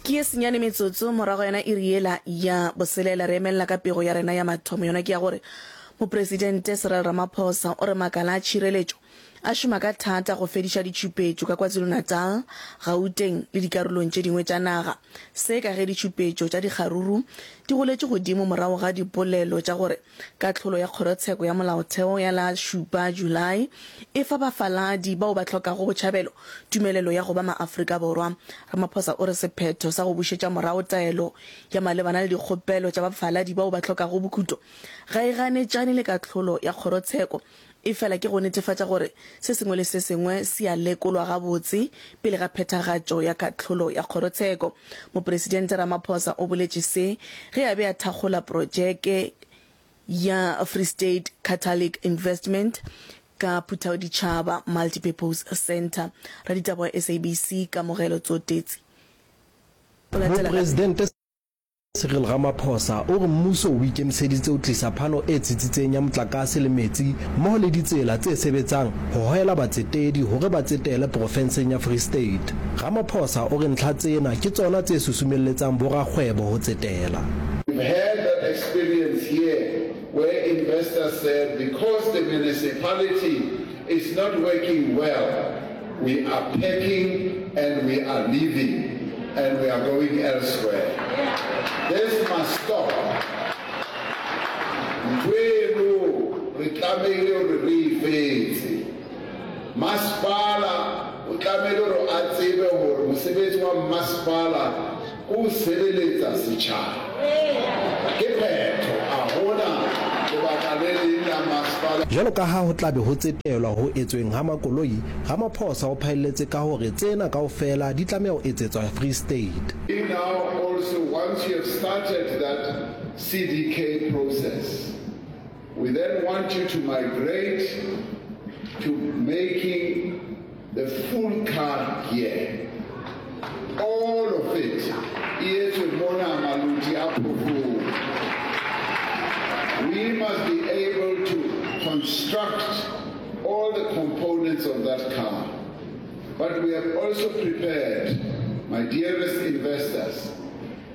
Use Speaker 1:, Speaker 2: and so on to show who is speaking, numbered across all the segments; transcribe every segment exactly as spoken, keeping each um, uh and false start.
Speaker 1: Ke ye senyane metsotso morago yona iri yela ya boselela, re emelela ka pego ya rena ya mathomo. Yona ke ya gore Mopresidente Cyril Ramaphosa o re makala a tšhireletšo a šoma ka thata go fediša ditšhupetšo ka KwaZulu-Natal, Gauteng le dikarolong tše dingwe tša naga. Se ka ge ditšhupetšo tša dikgaruru di goletše godimo morago ga dipolelo tša gore kahlolo ya Kgorotsheko ya Molaotheo ya la šupa Julae e fa bafaladi bao ba hlokago botšhabelo tumelelo ya go ba maAfrika Borwa. Ramaphosa o re sephetho sa go bušetša morago taelo ya malebana le dikgopelo tša bafaladi bao ba hlokago bokhuto ga e ganetšane le kahlolo ya kgorotsheko, efela ke go netefatša gore se sengwe le se sengwe se a lekolwa gabotse pele ga phethagatšo ya kahlolo ya kgorotsheko. Mopresidente Ramaphosa o boletše se ge a be a thakgola projeke ya Free State Catholic Investment ka Phuthaoditšhaba Multipurpose Centre. Raditaba wa S A B C Kamogelo Tsotetsi o latela ka
Speaker 2: Mopresidente Cyril Ramaphosa o re mmuso o ikemiseditse ho tlisa phano e tsitsitseng ya motlakase le metsi mmoho le ditsela tse sebetsang ho hohela batsetedi hore ba tsetele porofenseng ya Free State. Ramaphosa o re ntlha tsena ke tsona tse susumelletsang borakgwebo ho tsetela.
Speaker 3: We've had that experience here where investors said because the municipality is not working well, we are packing and we are leaving and we are going elsewhere. This must stop. Ntho eno re tlamehile hore re e fetse. Masepala o tlamehile hore a tsebe hore mosebetsi wa masepala ke ho sebeletsa setjhaba. Ke phetho, a hona lebaka le leng la masepala.
Speaker 2: Jwalo ka ha ho tla be ho tsetelwa ho etsweng ha makoloi, Ramaphosa o phaelletse ka hore tsena kaofela di tlameha ho etsetswa Free State.
Speaker 3: We now also, once you have started that C D K process, we then want you to migrate to making the full car here. All of it. E etswe mona Maluti-a-Phofung. We must be able to construct all the components of that car. But we have also prepared, my dearest investors,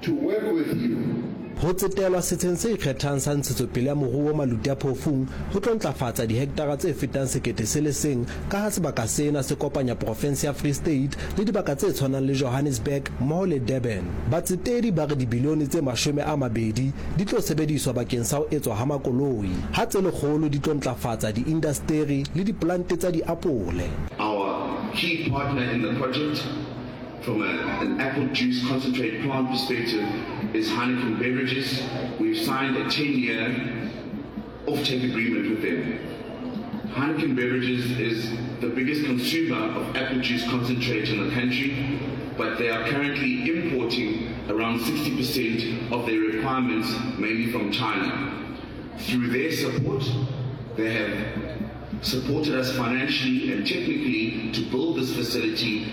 Speaker 3: to work with you.
Speaker 2: Ho tsetelwa setsheng se ikgethang sa ntshetsopele ya moruo Maluti-a-Phofung ho tlo ntlafatsa dihektara tse fetang sekete se le seng ka ha sebaka sena se kopanya porofense ya Free State le dibaka tse tshwanang le Johannesburg mmoho le Durban. Batsetedi ba re dibilione tse mashome a mabedi di tlo sebediswa bakeng sa ho etswa ha makoloi, ha tse lekgolo di tlo ntlafatsa diindasteri le dipolante tsa diapole.
Speaker 4: Our key partner in the project from a, an apple juice concentrate plant perspective is Heineken Beverages. We've signed a ten-year offtake agreement with them. Heineken Beverages is the biggest consumer of apple juice concentrate in the country, but they are currently importing around sixty percent of their requirements, mainly from China. Through their support, they have supported us financially and technically to build this facility.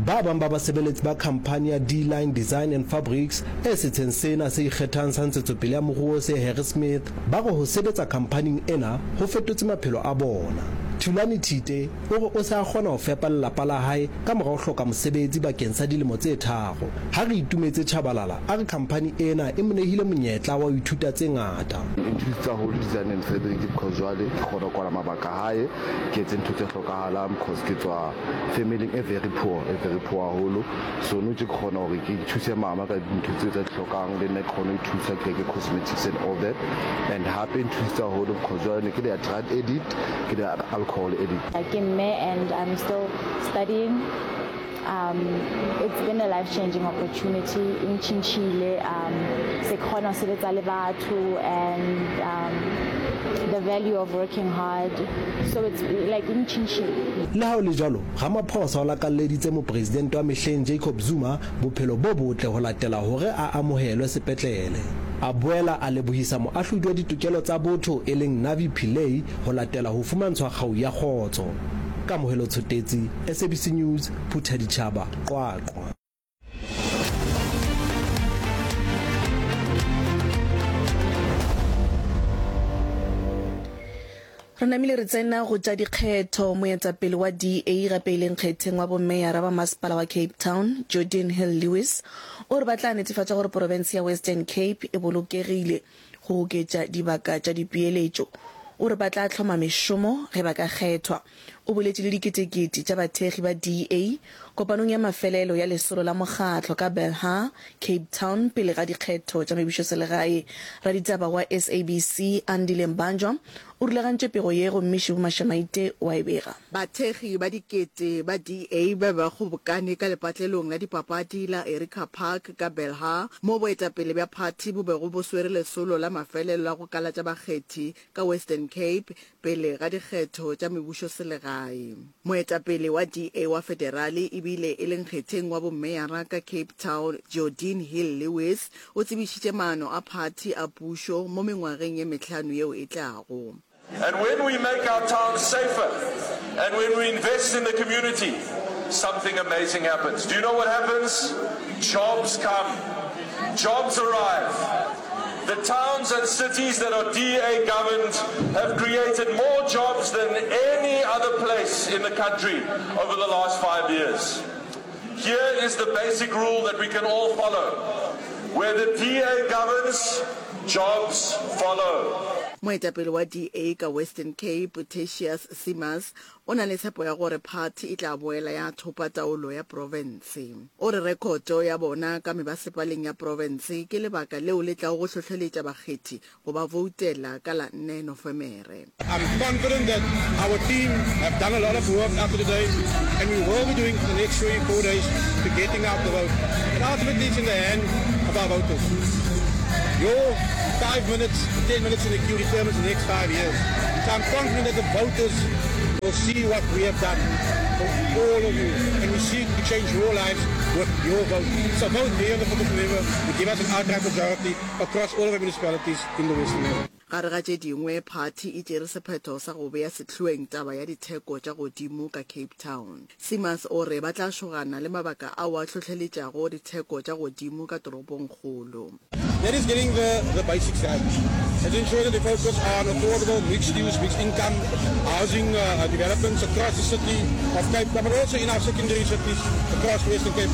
Speaker 2: Ba bang ba basebeletsi ba khamphani ya D-Line Design and Fabrics e setsheng sena se ikgethang sa ntshetsopele ya moruo se Harrismith ba re ho sebetsa khamphaning ena ho fetotse maphelo a bona. Thulani Thite o re o se a kgona ho fepa lelapa la hae ka mora ho hloka mosebetsi bakeng sa dilemo tse tharo. Ha re itumetse Tshabalala a re khamphani ena e mo nehile monyetla wa ho ithuta tse ngata.
Speaker 5: E nthusitse haholo design and fabric because jwale ke kgona ho kwala mabaka hae, ke etse ntho tse hlokahalang because ke tswa family e very poor, e very poor haholo. So nou tje ke kgona hore ke thuse mama ka dintho tse tsa di hlokang, le nna ke kgone ho ithusa, ke reke cosmetics and all that. And hape e nthusitse haholo because jwale ne ke le a drug addict, ke le alcohol addict.
Speaker 6: Ke mme and I'm still studying. Um, it's been a life-changing opportunity. E ntjhintjhile, um, se ke kgona ho sebetsa le batho and um, the value of working hard. So it's like e ntjhintjhile.
Speaker 2: Le ha ho le jwalo, Ramaphosa o lakalleditse mopresidente wa mehleng Jacob Zuma bophelo bo botle ho latela hore a amohelwe sepetlele. A boela a lebohisa moahlodi wa ditokelo tsa botho e leng Navi Pillay ho latela ho fumantshwa kgau ya kgotso. Kamohelo Tshotetsi, S A B C News, Phuthaditjhaba, Qwaqwa.
Speaker 1: Re namile re tsena go tša dikgetho. Moetapele wa D A gape e le nkgetheng wa bomeyara ba masepala wa Cape Town, Geordin Hill-Lewis, o re ba tla netefatša gore porofense ya Western Cape e bolokegile go oketša dibaka tša dipeeletšo. O re ba tla hloma mešomo ge ba ka kgethwa. O boletše le diketekete tša bathekgi ba D A kopanong ya mafelelo ya lesolo la mokgatlo ka Belhar, Cape Town pele ga dikgetho tša mebušoselegae. Raditaba wa S A B C Andile Mbanjwa o rulagantše pego ye gomme Shibu Mashamaite o a e bega.
Speaker 7: Bathekgi ba dikete ba D A ba be ba kgobokane ka lepatlelong la dipapadi la Erica Park ka Belhar, moo boetapele bja phathi bo bego bo swere lesolo la mafelelo la go kalatša bakgethi ka Western Cape pele ga dikgetho tša mebušoselegae. Moetapele wa D A wa federale ebile e le nkgetheng wa bommeyara ka Cape Town, Geordin Hill-Lewis, o tsebišitše maano a phathi a pušo mo mengwageng ye mehlano yeo e tlago.
Speaker 8: And when we make our towns safer and when we invest in the community, something amazing happens. Do you know what happens? Jobs come. Jobs arrive. The towns and cities that are D A governed have created more jobs than any other place in the country over the last five years. Here is the basic rule that we can all follow. Where the D A governs, jobs follow.
Speaker 7: Moetapele wa D A ka Western Cape, Tertuis Simmers, o na le tshepo ya gore phathi e tla boela ya thopa taolo ya profense. O re rekhoto ya bona ka mebasepaleng ya profense ke lebaka leo le tlago go hlohleletša bakgethi go ba voutela ka la nne Nofemere.
Speaker 9: I'm confident that our team have done a lot of work up to today, and we will be doing for the next three, four days to getting out the vote. And ultimately it's in the hand of our voters. Your five minutes, ten minutes in the queue determines the next five years. So I'm confident that the voters will see what we have done for all of you. And we seek to change your lives with your vote. So vote here on the fourth of November to give us an outright majority across all of our municipalities in the Western Cape.
Speaker 7: Gare ga tše dingwe, phathi e tšere sephetho sa go bea sehloeng taba ya ditheko tša godimo ka Cape Town. Simmers o re ba tla šogana le mabaka ao a hlohleletšago ditheko tša godimo ka toropongkgolo.
Speaker 9: That is getting the, the basics right. It's ensuring that we focus on affordable, mixed-use, mixed-income housing uh, developments across the city of Cape Town, but also in our secondary cities across Western Cape.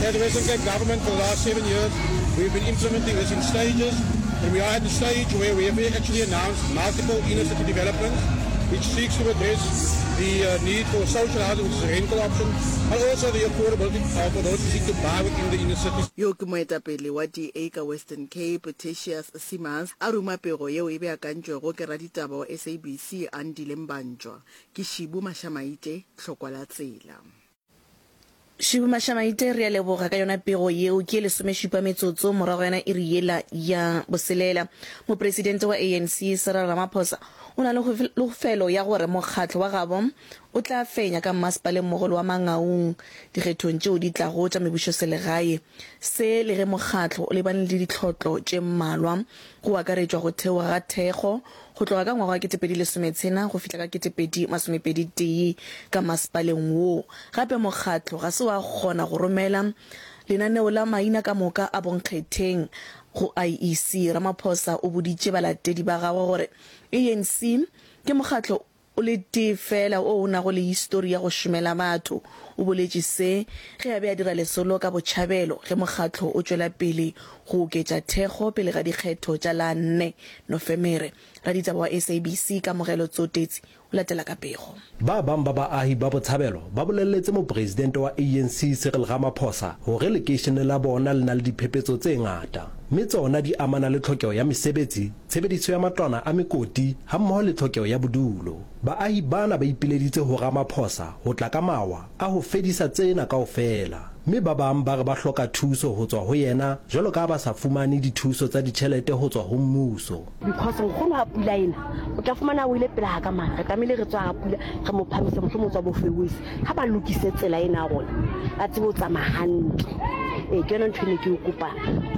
Speaker 9: As the Western Cape government for the last seven years, we've been implementing this in stages, and we are at the stage where we have actually announced multiple inner city developments, which seeks to address the uh, need for social housing, which is a rental option, but also the affordability uh, for those who seek to buy within the inner cities.
Speaker 7: Yo ke moetapele wa D A ka Western Cape, Tertuis Simmers, a ruma pego yeo e beakantšwego ke raditaba wa S A B C Andile Mbanjwa. Ke Shibu Mashamaite, Tlhokwa la Tsela.
Speaker 1: Shibu Mashamaite, re a leboga ka yona pego yeo. Ke lesomešupa metsotso morago yona iri yela ya boselela. Mopresidente wa A N C Cyril Ramaphosa o na le kholofelo ya gore mokgatlo wa gabo o tla fenya ka mmasepaleng mogolo wa Mangaung dikgethong tšeo di tlago tša mebušoselegae. Se le ge mokgatlo o lebane le ditlhotlo tše mmalwa, go akaretšwa go theoga ga thekgo go tloga ka ngwaga wa ketepedi lesometshela go fihla ka ketepedi masomepedi tee ka masepaleng woo. Gape mokgatlo ga se wa kgona go romela lenaneo la maina ka moka a bonkgetheng go I E C. Ramaphosa o boditše balatedi ba gagwe gore A N C ke mokgatlo o le tee fela o o nago le histori ya go šomela batho. O boletše se ge a be a dira lesolo ka Botšhabelo ge mokgatlo o tšwela pele go oketša thekgo pele ga dikgetho tša la nne Nofemere. Raditaba wa S A B C Kamogelo Tsotetsi o latela ka pego.
Speaker 2: Ba bang ba baahi ba Botshabelo ba boleletse mopresidente wa A N C Cyril Ramaphosa hore lekeishene la bona le na le diphephetso tse ngata, mme tsona di amana le tlhokeho ya mesebetsi, tshebediso ya matlwana a mekoti hammoho le tlhokeho ya bodulo. Baahi bana ba ipileditse ho Ramaphosa ho tla ka mawa a ho fedisa tsena kaofela, mme ba bang ba re ba hloka thuso ho tswa ho yena jwalo ka ha ba sa fumane dithuso tsa ditjhelete ho tswa ho mmuso.
Speaker 10: Because nkgono ha pula ena o tla fumana o ile pele ga ka mane, re tlamehile re tswa ga pula re mo phamise, mohlomong o tswa bofewese. Ha ba lokise tsela ena ya rona, ba tsebe ho tsamaya hantle. Ee, ke yona ntho e ne ke e kopa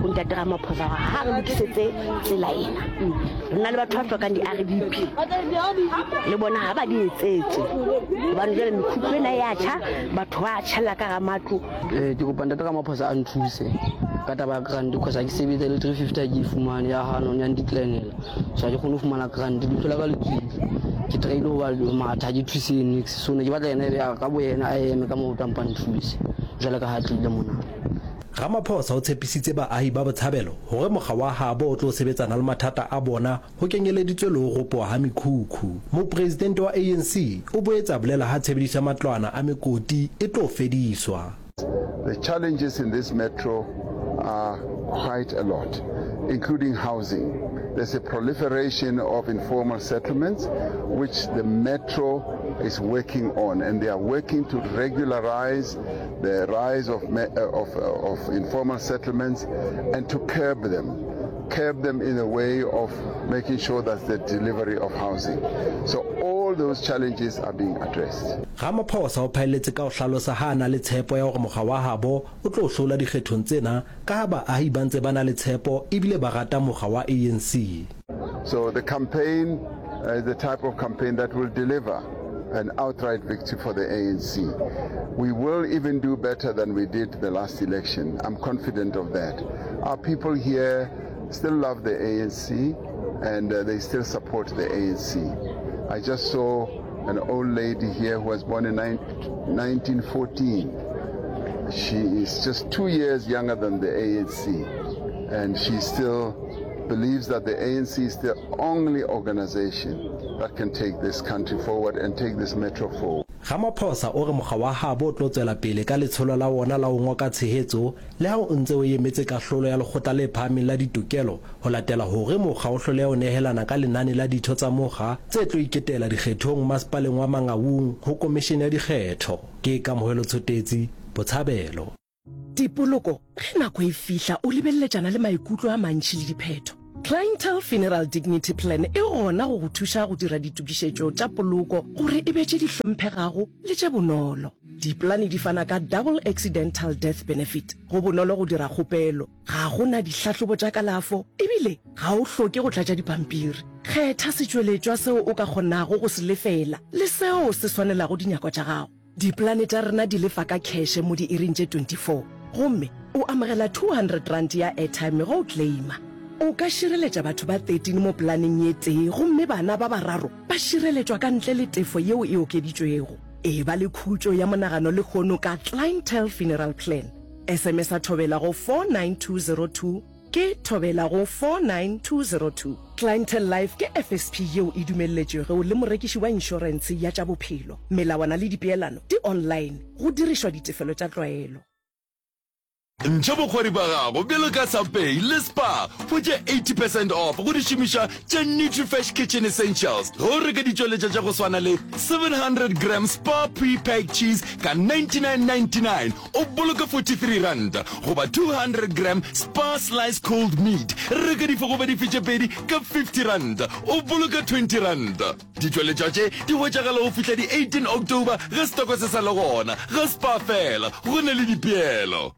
Speaker 10: go Ntate Ramaphosa gore ha re lokisetse tsela ena. Re na le batho ba hlokang di-R D P, le bona ha ba di etsetse, gobane jwale mekhukhu ena ya tjha, batho ba tjhella ka hara matlo.
Speaker 11: Ee, ke kopa Ntate Ramaphosa a nthuse ka taba ya grant, cause ha ke sebetsa le three fifty ha ke e fumane ya hano ya ndeclinela, so ha ke kgone ho fumana grant. Leihlo la ka le tswile, ke try-ile ho ba matha, ha ke thuse niks. So ne ke batla yena ebe ka bo yena a eme ka maoto a mpa nthuse jwale ka ha tlile mona.
Speaker 2: Ramaphosa o tshepisitse baahi ba Botshabelo hore mokga wa habo o tlo sebetsana le mathata a bona ho kenyeleditswe le ho ropoha ha mekhukhu. Mopresidente wa A N C o boetse a bolela ha tshebediso ya matlwana a mekoti e tlo fediswa.
Speaker 3: The challenges in this metro are quite a lot, including housing. There's a proliferation of informal settlements, which the metro is working on, and they are working to regularize the rise of, of, of informal settlements and to curb them curb them in a way of making sure that the delivery of housing. So all those challenges are being addressed.
Speaker 2: Ramaphosa o phaelletse ka ho hlalosa ha a na le tshepo ya hore mokga wa habo o tlo hlola dikgethong tsena ka ha baahi ba ntse ba na le tshepo ebile ba rata mokga wa A N C.
Speaker 3: So the campaign uh, is the type of campaign that will deliver an outright victory for the A N C. We will even do better than we did the last election. I'm confident of that. Our people here still love the A N C and uh, they still support the A N C. I just saw an old lady here who was born in nineteen fourteen. She is just two years younger than the A N C, and she still believes that the A N C is the only organization that can take this country forward and take this metro forward.
Speaker 2: Ramaphosa o re mokga wa habo o tlo tswela pele ka letsholo la wona la ho ngoka tshehetso le ha o ntse o emetse kahlolo ya Lekgotla le Phahameng la Ditokelo ho latela hore mokga o hloleha ho nehelana ka lenane la ditho tsa mokga tse tlo iketela dikgethong masepaleng wa Mangaung ho Komishene ya Dikgetho. Ke Kamohelo Tshotetsi, Botshabelo.
Speaker 12: Dipoloko ge nako e fihla o lebeleletšana le maikutlo a mantši le diphetho. Clientele Funeral Dignity Plan e gona go go thuša go dira ditokišetšo tša poloko gore e be tše di hlomphegago le tše bonolo. Dipolane di fana ka double accidental death benefit. Go bonolo go dira kgopelo, ga go na dihlahlobo tša kalafo ebile ga o hloke go tlatša dipampiri. Kgetha setšweletšwa seo o ka kgonago go se lefela le seo se swanelago dinyakwa tša gago. Dipolane tša rena di lefa ka cash mo diiring tše twenty-four gomme o amogela two hundred rand ya airtime go o claima. O ka šireletša batho ba thirteen mo polaneng ye tee gomme bana ba bararo ba šireletšwa ka ntle le tefo yeo e okeditšwego. E ba le khutšo ya monagano lehono ka Clientele Funeral Plan. S M S a Thobela go four nine two zero two, ke Thobela go four nine two zero two. Clientele Life ke F S P yeo e dumelletšwego le morekiši wa inšorentshe ya tša bophelo. Melawana le dipeelano di online go dirišwa ditefelo tša tlwaelo.
Speaker 13: Ntšha bokgwari ba gago bjalo ka Sanpay le Spar, hwetša eighty percent off go dišomišwa tša Nutrifresh Kitchen Essentials ge o reka ditšweletša tša go swana le seven hundred gram Spar pre-packed cheese ka ninety-nine ninety-nine, o boloka forty-three rand, goba two hundred gram Spar slice cold meat, reka dife goba dife tše pedi ka fifty rand, o boloka twenty rand. Ditšweletšwa tše di hwetšagala go fihla di eighteen October ge setoko se sa le gona ga Spar fela, go na le dipeelo.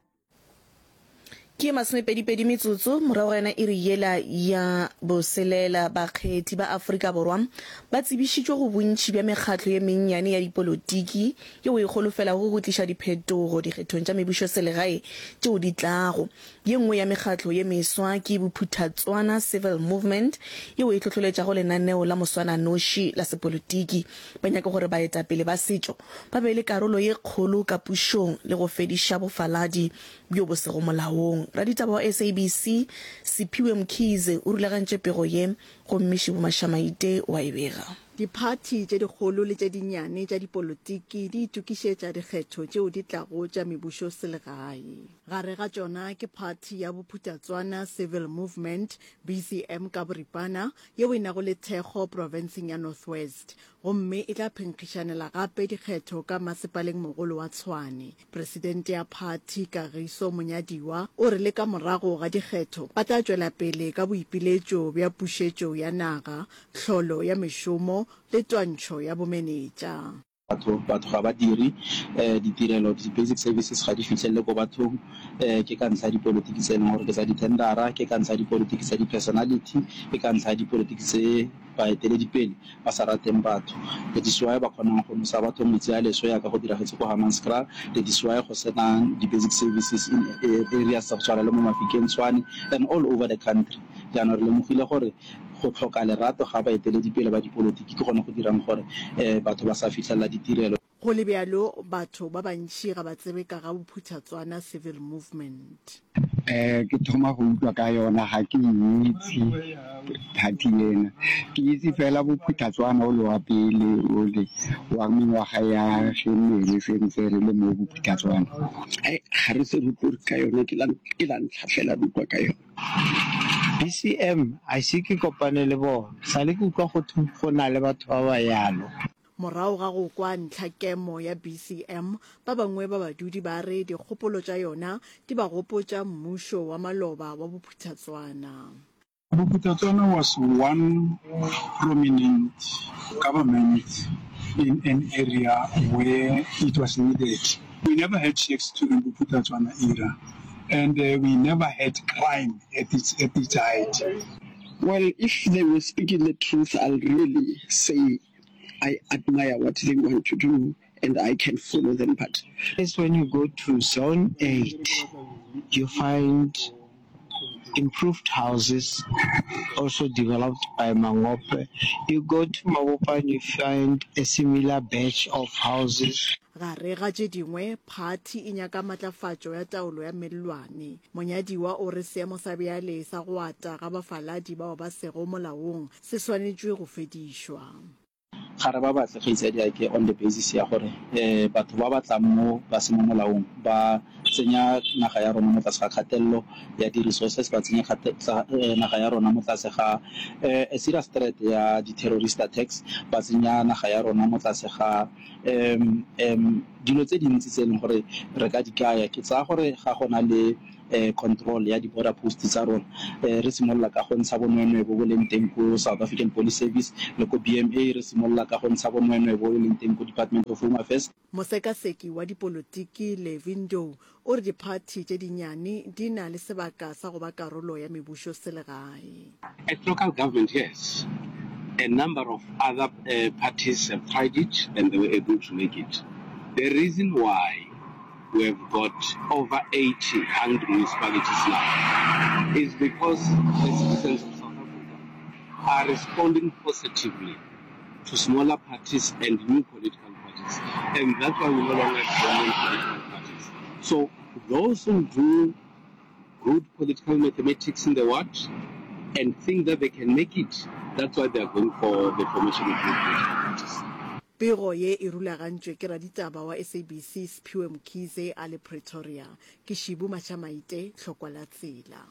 Speaker 1: Ke masomepedipedi metsotso morago ga yona iri yela ya boselela. Bakgethi ba Afrika Borwa ba tsebišitšwe go bontši bja mekgatlo ye mennyane ya dipolotiki yeo e holofelago go tliša diphetogo dikgethong tša mebušoselegae tšeo di tlago. Ye nngwe ya mekgatlo ye meswa ke Bophuthatswana Civil Movement yeo e hlohloletšago lenaneo la moswananoši la sepolotiki. Ba nyaka gore baetapele ba setšo ba be le karolo ye kgolo ka pušong le go fediša bofaladi bjo bo sego molaong. Raditaba wa S A B C Siphiwe Mkhize o rulagantše pego ye gomme Šibo Mašamaite wa e bega.
Speaker 7: Diphathi tše dikgolo le tše dinnyane tša dipolotiki di itokišetša dikgetho tšeo di tlago tša mebušoselegae. Gare ga tšona ke phathi ya Bophuthatswana Civil Movement, B C M ka boripana, yeo e nago le thekgo profenseng ya North West gomme e tla phenkgišanela gape dikgetho ka masepaleng mogolo wa Tshwane. Presidente ya phathi Kagiso Monyadiwa o re le ka morago ga dikgetho ba tla tšwela pele ka boipiletšo bja pušetšo ya naga, tlholo ya mešomo le twantšho ya bomenetša.
Speaker 14: Batho, batho ga ba dire ditirelo, di-basic services ga di fihlelele ko bathong, ke ka ntlha ya dipolotiki tse e leng gore ke tsa di-tendera, ke ka ntlha ya dipolotiki tsa di-personality, ke ka ntlha ya dipolotiki tse baeteledipele ba sa rateng batho. That is why ba kgonang go nosa batho metsi a leswe yaka go diragetse ko Hammanskraal, that is why go senang di-basic services in areas tsa go tshwana le mo Mafikeng, Tshwane and all over the country. Jaanong re lemogile gore Go tlhoka lerato ga baeteledipele ba dipolotiki ke gone go dirang gore batho ba sa fihlelela ditirelo.
Speaker 7: Go le bjalo, batho ba bantši ga ba tsebe ka ga Bophuthatswana Civil Movement.
Speaker 15: Eh, ke thoma go utlwa ka yona, ga ke itse party ena. Ke itse fela Bophuthatswana o le wa pele ole wa mengwaga ya ge ne re sentse re le mo Bophuthatswana.
Speaker 16: Ai, ga re se re utlwe ka yona, ke la ke la ntlha fela re utlwa ka yona.
Speaker 17: B C M, A ise ke kopane le bona, sa le ke utlwa go thwe go na le batho ba ba yalo.
Speaker 7: Morago ga go kwa ntlhakemo ya B C M, ba bangwe ba badudi ba re dikgopolo tša yona di ba gopotša mmušo wa maloba wa Bophuthatswana.
Speaker 18: Bophuthatswana was one prominent government in an area where it was needed. We never had shacks during Bophuthatswana era and we never had crime at its, at its height.
Speaker 16: Well, if they were speaking the truth, I'll really say I admire what they want to do and I can follow them, but.
Speaker 17: Is when you go to zone eight, you find improved houses also developed by Mangope. You go to Mabopane, you find a similar batch of houses.
Speaker 7: Gare ga tše dingwe, phathi e nyaka matlafatšo ya taolo ya mellwane. Monyadiwa o re seemo sa bjale sa go ata ga bafaladi bao ba sego molaong se swanetšwe go fedišwa.
Speaker 14: Ga re ba batle kgaitsadiake on the basis ya gore batho ba ba tlang mo ba se mo molaong ba tsenya naga ya rona mo tlase ga kgatelelo ya di-resources, ba tsenya naga ya rona mo tlase ga a serious threat ya di-terrorist attacks, ba tsenya naga ya rona mo tlase ga dilo tse dintsi tse e leng gore re ka di kaya. Ke tsaya gore ga go na le control ya di-border post tsa rona, re simolola ka go ntsha bonweenwee bo bo leng teng ko South African Police Service le ko B M A, re simolola ka go ntsha bonweenwee bo bo leng teng ko Department of Home Affairs.
Speaker 7: Mosekaseki wa dipolotiki Levy Ndou o re diphathi tše dinnyane di na le sebaka sa go ba karolo ya mebušoselegae.
Speaker 19: At local government, yes, a number of other parties have tried it and they were able to make it. The reason why we have got over eighty hungry municipalities now is because the citizens of South Africa are responding positively to smaller parties and new political parties, and that's why we no longer have dominant political parties. So those who do good political mathematics in the ward and think that they can make it, that's why they are going for the formation of new political parties.
Speaker 7: Pego ye e rulagantšwe ke raditaba wa S A B C Siphiwe Mkhize a le Pretoria. Ke Shibu Mashamaite, Tlhokwa la Tsela.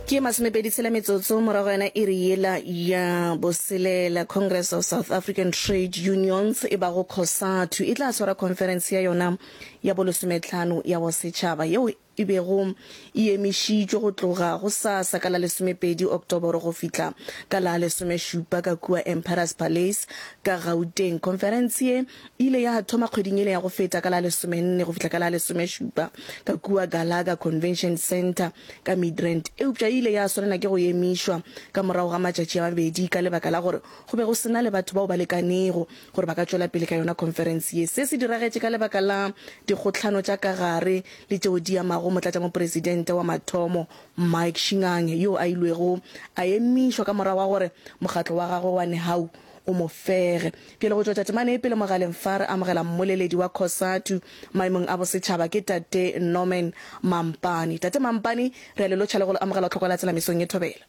Speaker 1: Ke masomepedi tshela metsotso morago yona iri yela ya boselela. Congress of South African Trade Unions e bago COSATU e tla swara khonferense ya yona ya bolesometlhano ya bosetšhaba yeo e bego e emišitšwe go tloga gosasa ka la lesomepedi Oktoboro go fihla ka la lesomešupa ka kua Emperors Palace ka Gauteng. Khonferense ye e ile ya thoma kgweding yela ya go feta ka la lesomenne go fihla ka la lesomešupa ka kua Gallagher Convention Centre ka Midrand, eupša e ile ya swanela ke go emišwa ka morago ga matšatši a mabedi ka lebaka la gore go be go se na le batho bao ba lekanego gore ba ka tšwela pele ka yona khonferense ye. Se se diragetše ka lebaka la dikgohlano tša ka gare le tšeo di amago motlatšamopresidente wa mathomo Mike Shingange yo a ilwego a emišwa ka morago ga gore mokgatlo wa gagwe wa Nehawu o mo fege. Bjale go tšwetša temana ye pele mogaleng fa re amogela mmoleledi wa COSATU maemong a bosetšhaba ke Tate Norman Mampane. Tate Mampane, re a le lotšha le go le amogela tlhoko la tsela mesong ye thobela.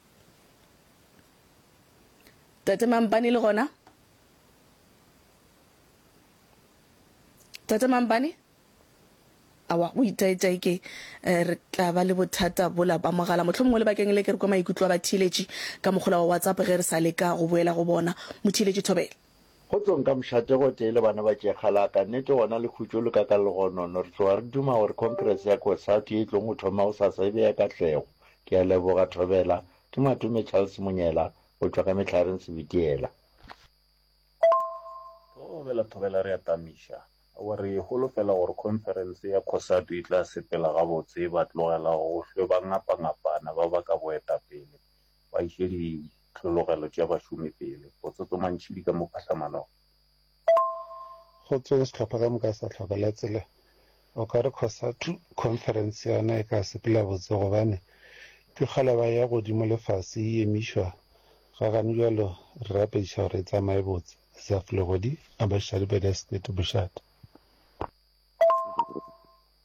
Speaker 1: Tate Mampane le gona? Tate Mampane? Aowa, go itaetae ke re tla ba le bothata bola ba mogala. Mohlomongwe lebakeng le ke re kwa maikutlo a batheeletši ka mogola wa WhatsApp ge re sa leka go boela go bona. Motheeletši Thobela.
Speaker 20: Kgotsong ka mošate gotee le bana ba Tšekgalaka, nnete gona le khutšo le ka ka legonono. Re tloga re duma gore Congress ya COSATU ye e tlong go thoma gosasa e be ya katlego. Ke a leboga Thobela, Ke Matome Charles Monyela go tšwa ka Mehlareng Sebitiela.
Speaker 21: Thobela thobela re a tamiša. Aowa re holofela gore khonferense ya COSATU e tla sepela gabotse ba tlogela go hlwe ba ngapangapana ba baka boetapele ba iše dihlologelo tša bašomi pele. Botsotso Mantšhidi ka mo phahlamanong.
Speaker 22: Kgotsong sehlopha ka moka sa Tlhoko la Tsela. O ka re COSATU conference yona e ka sepela botse gobane ke kgale ba ya godimo le fase e emišwa ga gane bjalo re rapediša gore e tsamaye botse. Zaf Legodi, Abashadi Bedestate, Bošate.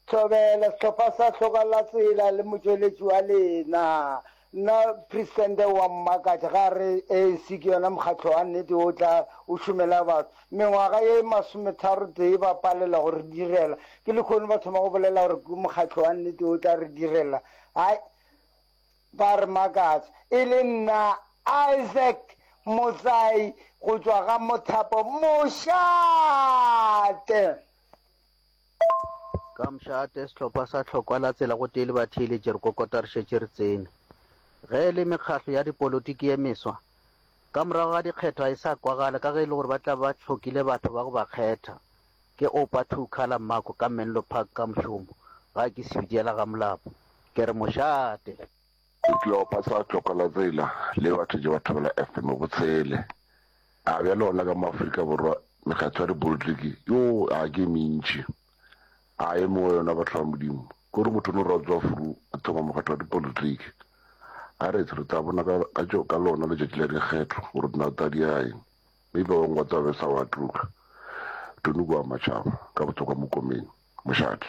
Speaker 23: Thobela, sehlopha sa Hloka la Tsela le motšweletši wa lena. Nna Presidente o a mmakatša ge a re A N C ke yona mokgatlo wa nnete wo tla o šomela batho. Mengwaga ye masometharo-tee ba palelwa go re direla. Ke lehono ba thoma go bolela gore ke mokgatlo wa nnete wo tla re direla. Hai, ba re makatša. E le nna Isaac Motsai go tšwa ga Mothapo Mošate.
Speaker 24: Ka mošate, sehlopha sa Tlhokwa la Tsela gotee le batheeletši re kokota re šetše re tsene. Ge e le mekgahlo ya dipolotiki ye meswa, ka morago ga dikgetho ga e sa kwagala ka ge e le gore ba tla ba hlokile batho ba go ba kgetha. Ke Oupa Two Colour Mako ka Menlo Park ka mošomo, ga ke Sebitiela ga Molapo. Ke re mošate.
Speaker 25: Sehlopha sa Tlhokwa la Tsela le batho tše ba Thobela F M botshele. A bjale gona ka mo Afrika Borwa mekgatlo ya dipolitiki yo a ke e mentši. A e mengwe yona batho ba Modimo ke gore motho o no ra tswa furu a thoma mokgatlo wa dipolitiki. A re re tla bona ka, ka, tšo, ka lona letšatši la dikgetho gore na tla di ya eng. Mme ba bangwe ba tla be sa wa tloga. Tony kwa Matšhaba ka botswa kwa Mokomeng, Mošate.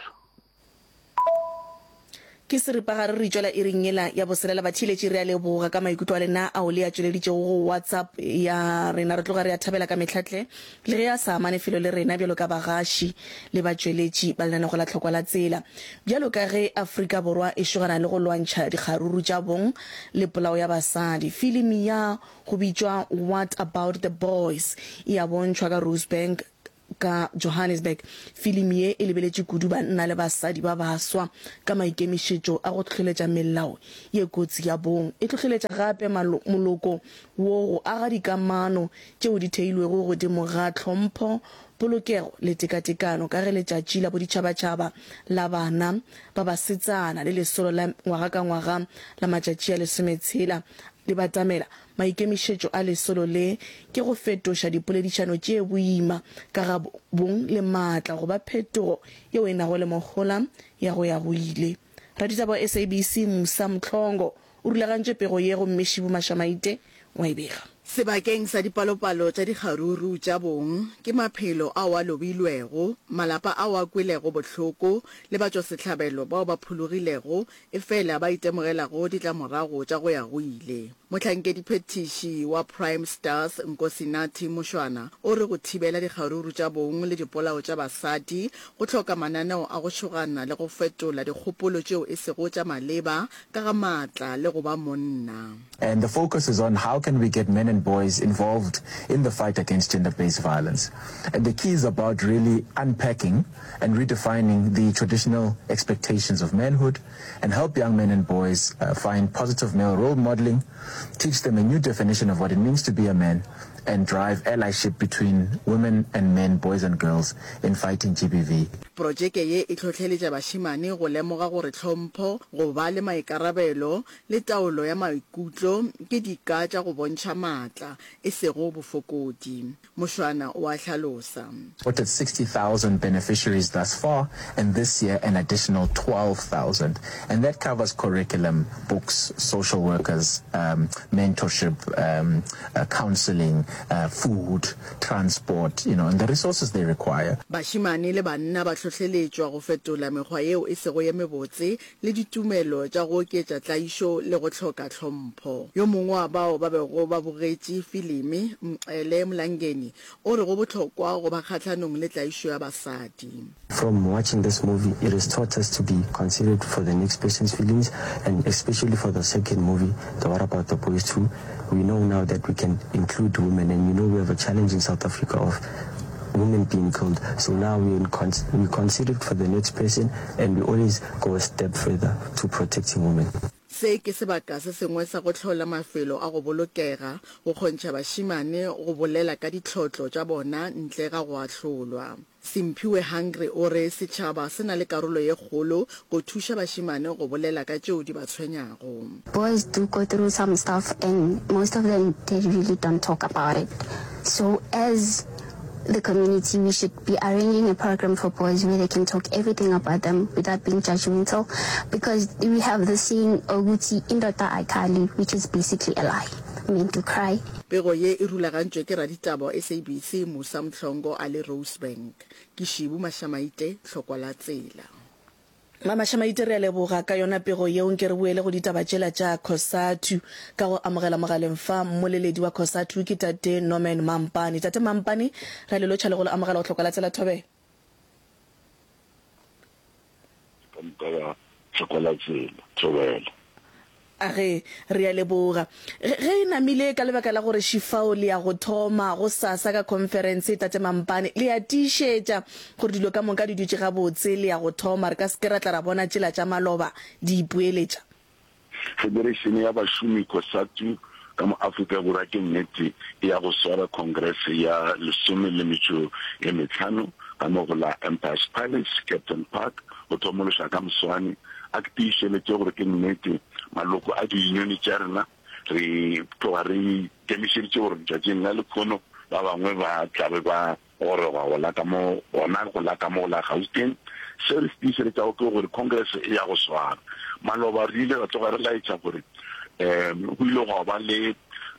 Speaker 1: Ke seripagare re tšwela iring yela ya boselela. Batheeletši re a leboga ka maikutlo a lena ao le a tšweleditšego go WhatsApp ya rena. Re tloga re a thabela ka mehlatle le ge a sa amane felo le rena bjalo ka bagaši le batšweletši ba lenanego la Tlhokwa la Tsela. Bjalo ka ge Afrika Borwa e šogana le go lwantšha dikgaruru tša bong le polao ya basadi, filimi ya go bitšwa What About the Boys e a bontšhwa ka Rosebank ka Johannesburg. Filimi ye e lebeletše kudu banna le basadi ba baswa ka maikemišetšo a go hlohleletša melao ye kotsi ya bong. E hlohleletša gape moloko wo go aga dikamano tšeo di theilwego godimo ga tlhompho, polokego le tekatekano ka ge letšatši la boditšhabatšhaba la bana ba basetsana le lesolo la ngwaga ka ngwaga la matšatši a lesometshela le batamela. Maikemišetšo a lesolo le ke go fetoša dipoledišano tše boima ka ga bong le maatla go ba phetogo yeo e nago le mohola ya go ya go ile. Raditaba wa S A B C Musa Mhlongo o rulagantše pego ye gomme Šibu Mašamaite wa e bega.
Speaker 7: Sebakeng sa dipalopalo tša dikgaruru tša bong, ke maphelo ao a lobilwego, malapa ao a kwelego bohloko le batšwasehlabelo bao ba phologilego efela ba itemogelago ditlamorago tša go ya go ile. Mohlankediphethiši wa Prime Stars Nkosinathi Moshwana o re go thibela dikgaruru tša bong le dipolao tša basadi go hloka mananeo a go šogana le go fetola dikgopolo tšeo e sego tša maleba ka ga maatla le go ba monna.
Speaker 26: And the focus is on how can we get men and boys involved in the fight against gender-based violence. And the key is about really unpacking and redefining the traditional expectations of manhood and help young men and boys, uh, find positive male role modeling, teach them a new definition of what it means to be a man, and drive allyship between women and men, boys and girls in fighting G B V.
Speaker 7: Projeke ye e hlohleletša bašemane go lemoga gore tlhompho, go ba le maikarabelo le taolo ya maikutlo ke dika tša go bontšha maatla, e sego bofokodi. Mošwana o a hlalosa.
Speaker 26: Supported sixty thousand beneficiaries thus far, and this year an additional twelve thousand. And that covers curriculum, books, social workers, um, mentorship, um, uh, counseling, uh, food, transport, you know, and the resources they require.
Speaker 7: Bašemane le banna ba hlohleletšwa go fetola mekgwa yeo e sego ye mebotse le ditumelo tša go oketša tlaišo le go hloka tlhompho. Yo mongwe wa bao ba bego ba bogetše filimi, Mqele Mlangeni, o re go bohlokwa go ba kgahlanong le tlaišo ya basadi.
Speaker 27: From watching this movie, it has taught us to be considerate for the next person's feelings, and especially for the second movie, the What About the Boys two, we know now that we can include women, and you know we have a challenge in South Africa of women being killed. So now we in cons-, we consider it for the next person, and we always go a step further to protecting women.
Speaker 7: Se ke sebaka se sengwe sa go hlola mafelo a go bolokega, go kgontšha bašemane go bolela ka ditlhotlo tša bona ntle ga go ahlolwa. Simphiwe Hungry o re setšhaba se na le karolo ye kgolo go thuša bašemane go bolela ka tšeo di ba tshwenyago.
Speaker 4: Boys do go through some stuff and most of them they really don't talk about it so as the community we should be arranging a program for boys where they can talk everything about them without being judgmental because we have the saying ukuthi indoda ayikhali which is basically a lie men do cry.
Speaker 7: Pego ye e rulagantšwe ke raditaba wa S A B C Musa Mhlongo a le Rosebank. Ke Šibu Mašamaite, Tlhokwa la Tsela.
Speaker 1: Mamašamaite re a leboga ka yona pego yeo. Nke re boele go ditaba tšela tša Cosatu ka go amogela mogaleng fa mmoleledi wa Cosatu ke Tate Norman Mampane. Tate Mampane, re a le lotšha le go le amogela go Tlhokwa la Tsela. Thobela.
Speaker 25: Ka moka ba Tlhokwa la Tsela. Thobela.
Speaker 1: Age, re a leboga. Ge, ge e namile ka lebaka la gore šifao le ya go thoma gosasa ka khonferense, Tate Mampane, le a tiišetša gore dilo ka moka di dutše gabotse, le ya go thoma, re ka se ke ra tla ra bona tšela tša maloba di ipoeletša?
Speaker 25: Federeišene ya Bašomi, COSATU, ka mo Afrika Borwa ke nnete e ya go swara Khongrese ya lesome le metšo ye mehlano ka mo go la Empire's Palace, Kempton Park, go thomološa ka moswane. A ke tiišeletše gore ke nnete maloko a diyunione tša rena re tloga re ikemišeditše gore letšatšing la lekhono ba bangwe ba tla be ba goroga go la ka mo gona go la ka mo go la Gauteng. Se re se tiišeletšago ke gore Congress e ya go swara. Maloba re ile ra tloga re laetša gore um go ile gwa ba le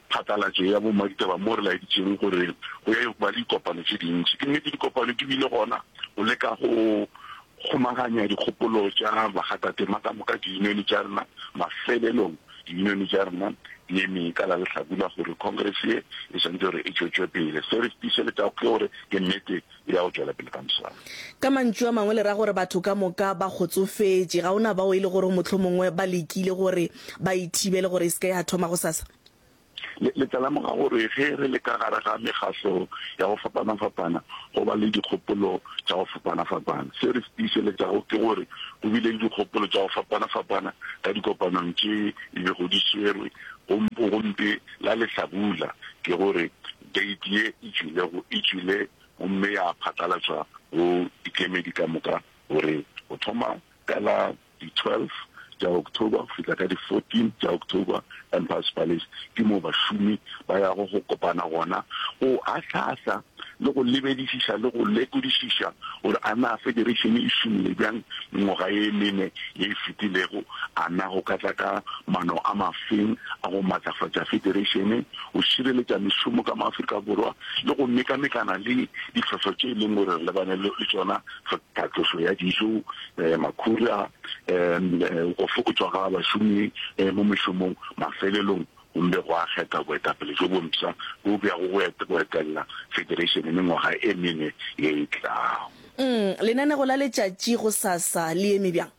Speaker 25: phatlalatšo ya bomaditaba mo re laeditšeng gore go ya ba le dikopano tše dintši. Ke nnete dikopano di bile gona go leka go kgomaganya dikgopolo tša bakgathatema ka moka diyunione tša rena. Mafelelong diyunione tša rena di eme ka la lehlabula gore Congress ye e swanetše gore e tšwetšwe pele. Se re se tiišeletšago ke gore ke nnete e ya go tšwela pele ka moswane.
Speaker 1: Ka mantšu a mangwe le ra gore batho ka moka ba kgotsofetše, ga o na bao e le gore mohlomongwe ba lekile gore ba e thibele gore e se ke ya thoma gosasa?
Speaker 25: Le, le tla lemoga gore ge re le ka gare ga mekgahlo ya go fapana-fapana, go ba le dikgopolo tša go fapana-fapana. Se re se tiišeletšago ke gore go bile le dikgopolo tša go fapana-fapana ka dikopanong tše di bego di swerwe gompo gompe la lehlabula, ke gore date ye e tšwilego e tšwile gomme ya phatlalatšwa go dikemedi ka moka gore go thoma ka la di twelve tša October go fihla ka di fourteen tša October, Empire's Palace ke moo bašomi ba yago go kopana gona go ahlaahla le go lebedišiša le go lekodišiša gore a na federation e šomile bjang mengwaga ye mene ye e fetilego, a na go ka tla ka maano a mafeng a go matlafatša federation, go šireletša mešomo ka mo Afrika Borwa le go mekamekana le ditlhohlo tše e leng gore re lebane le tšona, tlhatlošo ya dijo, makhura, go fokotšwa ga bašomi mo mešomong. Mafelelong gomme gwa kgetha boetapele bjo bompsha bjo bo yago go etelela federation mengwaga e mene ye e tlago.
Speaker 1: Mm, lenanego la letšatši gosasa le eme bjang?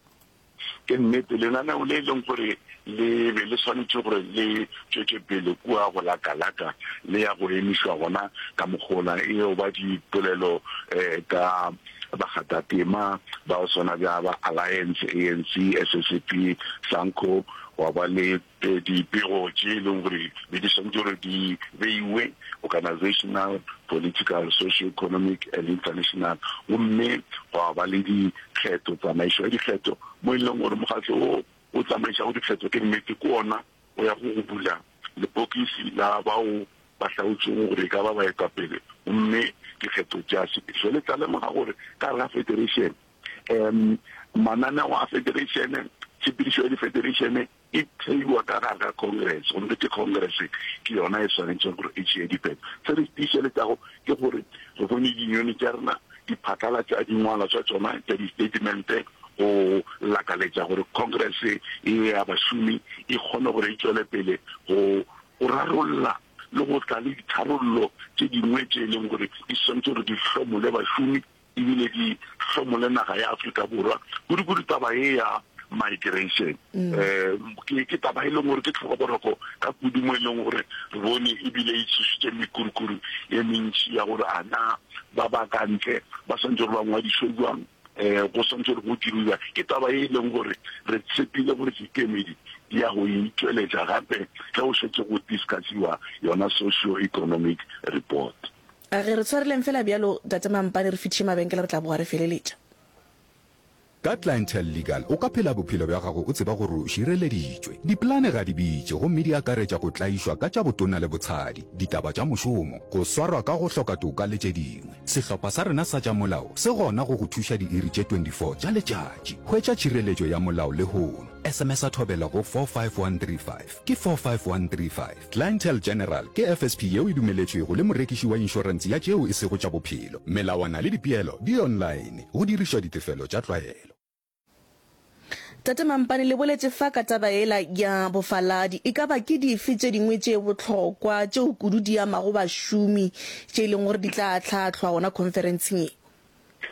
Speaker 25: Ke nnete, lenaneo le e leng gore le be le swanetše gore le tšwetše pele kua go la Kalaka le ya go emišwa gona ka mokgola e yo ba dipolelo ka bakgathatema ba go swana bja ba Alliance, A N C, S S P, SANCO, gwa ba le dipego tše e leng gore be di swanetše gore di beiwe, organizational, political, socio-economic and international, gomme gwa ba le dikgetho, tsamaišo ya dikgetho, mo e leng gore mokgatlo wo o tsamaišago dikgetho ke nnete ke wona o yago go bula lepokisi la bao ba hlaotšwego gore e ka ba baetapele gomme dikgetho tša sepedišwa. Le tla lemoga gore ka gare ga federation, um mananeo a federation, tshepedišo ya difederation e theiwa ka gare ga Congress, gomme ke Congress ke yona e swanetšego gore e tšee diphetho. Se re se tiišeletšago ke gore re bone dinyone tša rena di phatlalatša dingwalwa tša tšona tša di-statement go lakaletša gore Congress ye ya bašomi e kgone gore e tšwele pele go go rarolla le go tla le ditharollo tše dingwe tše e leng gore di swanetše gore di hlomole bašomi ebile di hlomole naga ya Afrika Borwa, kudu-kudu taba ye ya migration. Um ke ke taba e leng gore ke tlhobaboroko ka kudu mo e leng gore re bone ebile e tsošitše mekurukuru ye mentši ya gore a na ba ba ka ntle ba swanetše gore ba ngwadišwe bjang.
Speaker 3: um go swanetše gore go diriwa. Ke taba ye e leng gore re tshepile gore dikemedi di ya go e tšweletša gape ge go šetše go discussiwa yona socio-economic report.
Speaker 1: A ge re tshwareleng fela bjalo, Tate Mampane, re fetiše mabenkele re tla boa re feleletša.
Speaker 5: Ka Clientele Legal o ka phela bophelo bja gago o tseba gore o šireleditšwe. Dipolane ga di bitše gomme di akaretša go tlaišwa ka tša botona le botshadi, ditaba tša mošomo, go swarwa ka go hloka toka le tše dingwe. Sehlopha sa rena sa tša molao se gona go go thuša diiri tše twenty four tša letšatši. Hwetša tšhireletšo ya molao lehono. S M S-a Thobela go four five one three five. Ke four five one three five. Clientele General ke F S P yeo e dumeletšwego le morekiši wa inšorense ya tšeo e sego tša bophelo. Melawana le dipeelo di online. Go dirišwa ditefelo tša tlwaelo.
Speaker 1: Tate Mampane, le boletše fa ka taba yela ya bofaladi. E ka ba ke dife tše dingwe tše bohlokwa tšeo kudu di amago bašomi tše e leng gore di tla ahlaahlwa gona khonferenseng ye?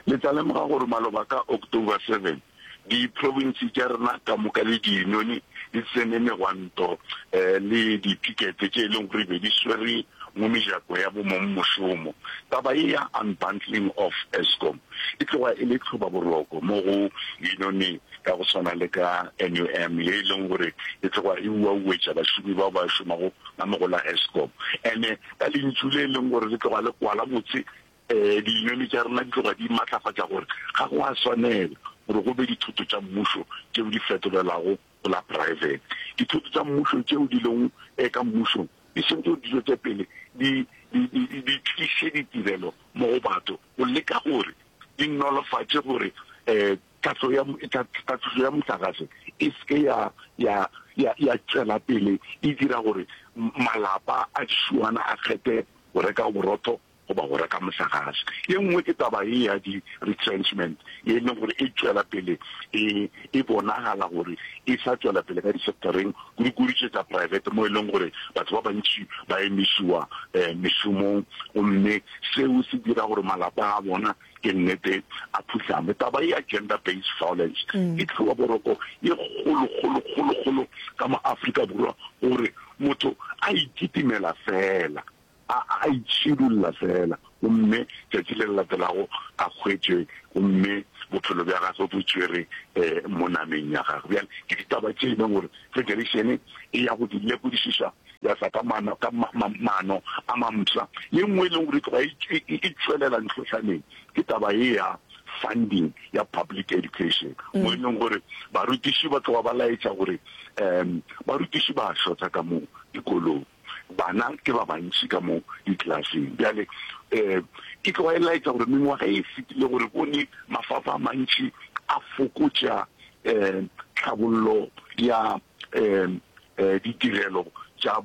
Speaker 3: Le tla lemoga gore maloba ka October seven, diprofense tša rena ka moka le diyunione di tsene megwanto le dipikete tše e leng gore be di swere mo mejako ya bomongmošomo. Taba ye ya unbundling of Eskom e tloga e le tlhobaboroko mo go yunione ya go swana le ka N U M ye e leng gore e tloga e uauetša bašomi bao ba šomago ka mo go la Eskom. Ene ka lentšu le e leng gore le tloga le kwala botse, um diyunione tša rena di tloga di matlafatša gore ga go a swanela gore go be dithoto tša mmušo tšeo di fetolelwago go la private. Dithoto tša mmušo tšeo di lego ka mmušong di swanetše gore di tšwetše pele di di di di tliše ditirelo mo go batho go leka gore di nolofatše gore um tlhahlo ya tlhatlošo ya mohlagase e se ke ya ya ya ya tšwela pele e dira gore malapa a dišuana a kgethe go reka borotho goba go reka mohlagase. Ye nngwe ke taba ye ya di-retrenchment ye e leng gore e tšwela pele e e bonagala gore e sa tšwela pele ka di-sectoreng kudu-kudu tše tša private mo e leng gore batho ba bantši ba emišiwa mešomong gomme seo se dira gore malapa a bona ke nnete a phuhlame. Taba ye ya gender based violence e hloba boroko ye kgolo kgolo kgolo kgolo ka mo Afrika Borwa gore motho a ikitimela fela a a itšhidulla feela, gomme tšatši le le latelago a hwetšwe, gomme bophelo bja gagwe bo tšwere mo nameng ya gagwe. Bjale, ke ditaba tše e leng gore federation e ya go di lekodišiša, ya tla ka maano, ka ma, ma, maano a mampsha. Ye nngwe e leng gore e tloga e, e, e tšwelela ntlhohlaneng ke taba ye ya funding ya public education, mo e leng gore barutiši ba tloga ba laetša gore um barutiši ba shota ka mo dikolong. Bana ke ba bantši ka mo diklaseng. Bjale, um e tloga e laetša gore mengwaga e fetilego re bone mafapha a mantši a fokotša um tlhabollo ya um ditirelo tša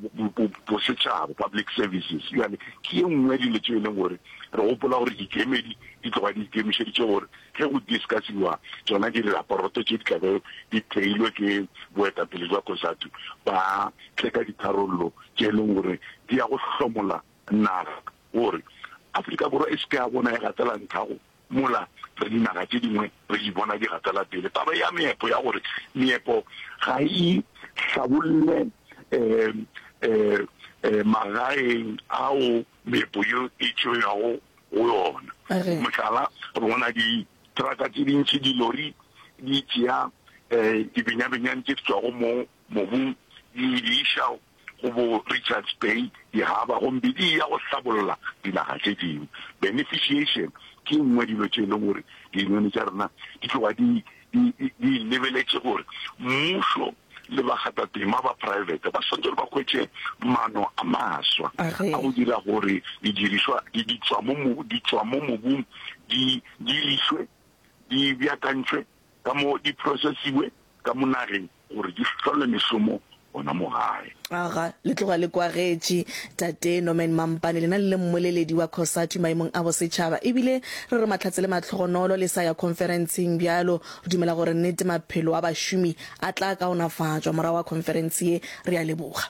Speaker 3: bosetšhaba, public services. Bjale, ke ye nngwe ya dilo tše e leng gore re gopola gore dikemedi di tloga di ikemišeditše gore ge go discussiwa tšona diraporoto tše di tla be di theilwe ke boetapele bja COSATU, ba tle ka ditharollo tše e leng gore di ya go hlomola naga gore Afrika Borwa e se ke ya bona e gatela nthago mola re dinaga tše dingwe re di bona di gatela pele. Taba ya meepo ya gore meepo ga e hlabolle um um magaeng ao meepo yeo e tšweago go yona. Mohlala, re bona ditraka tše dintši, dilori di tšea um dibenyabenyane tše di tšwago mo mobung di di iša go bo Richards Bay, di-harbour, gomme di eya go hlabolla dinaga tše dingwe. Beneficiation ke ye nngwe ya dilo tše e leng gore diyunione tša rena di tloga di di di lebeletše gore mmušo le bakgathatema ba praebete ba swanetše gore ba hwetše maano a maswa a go dira gore didirišwa di di tšwa mo di tšwa mo mobung di dirišwe, di beakantšwe ka mo di processiwe ka mo nageng gore di hlole mešomo gona mo gae.
Speaker 1: Aga, le tloga le kwagetše, Tate Norman Mampane, lena le le mmoleledi wa COSATU maemong a bosetšhaba. Ebile re re mahlatse le mahlogonolo le sa ya khonferenseng bjalo. Re dumela gore nnete maphelo a bašomi a tla kaonafatšwa morago ga khonferense ye. Re a leboga.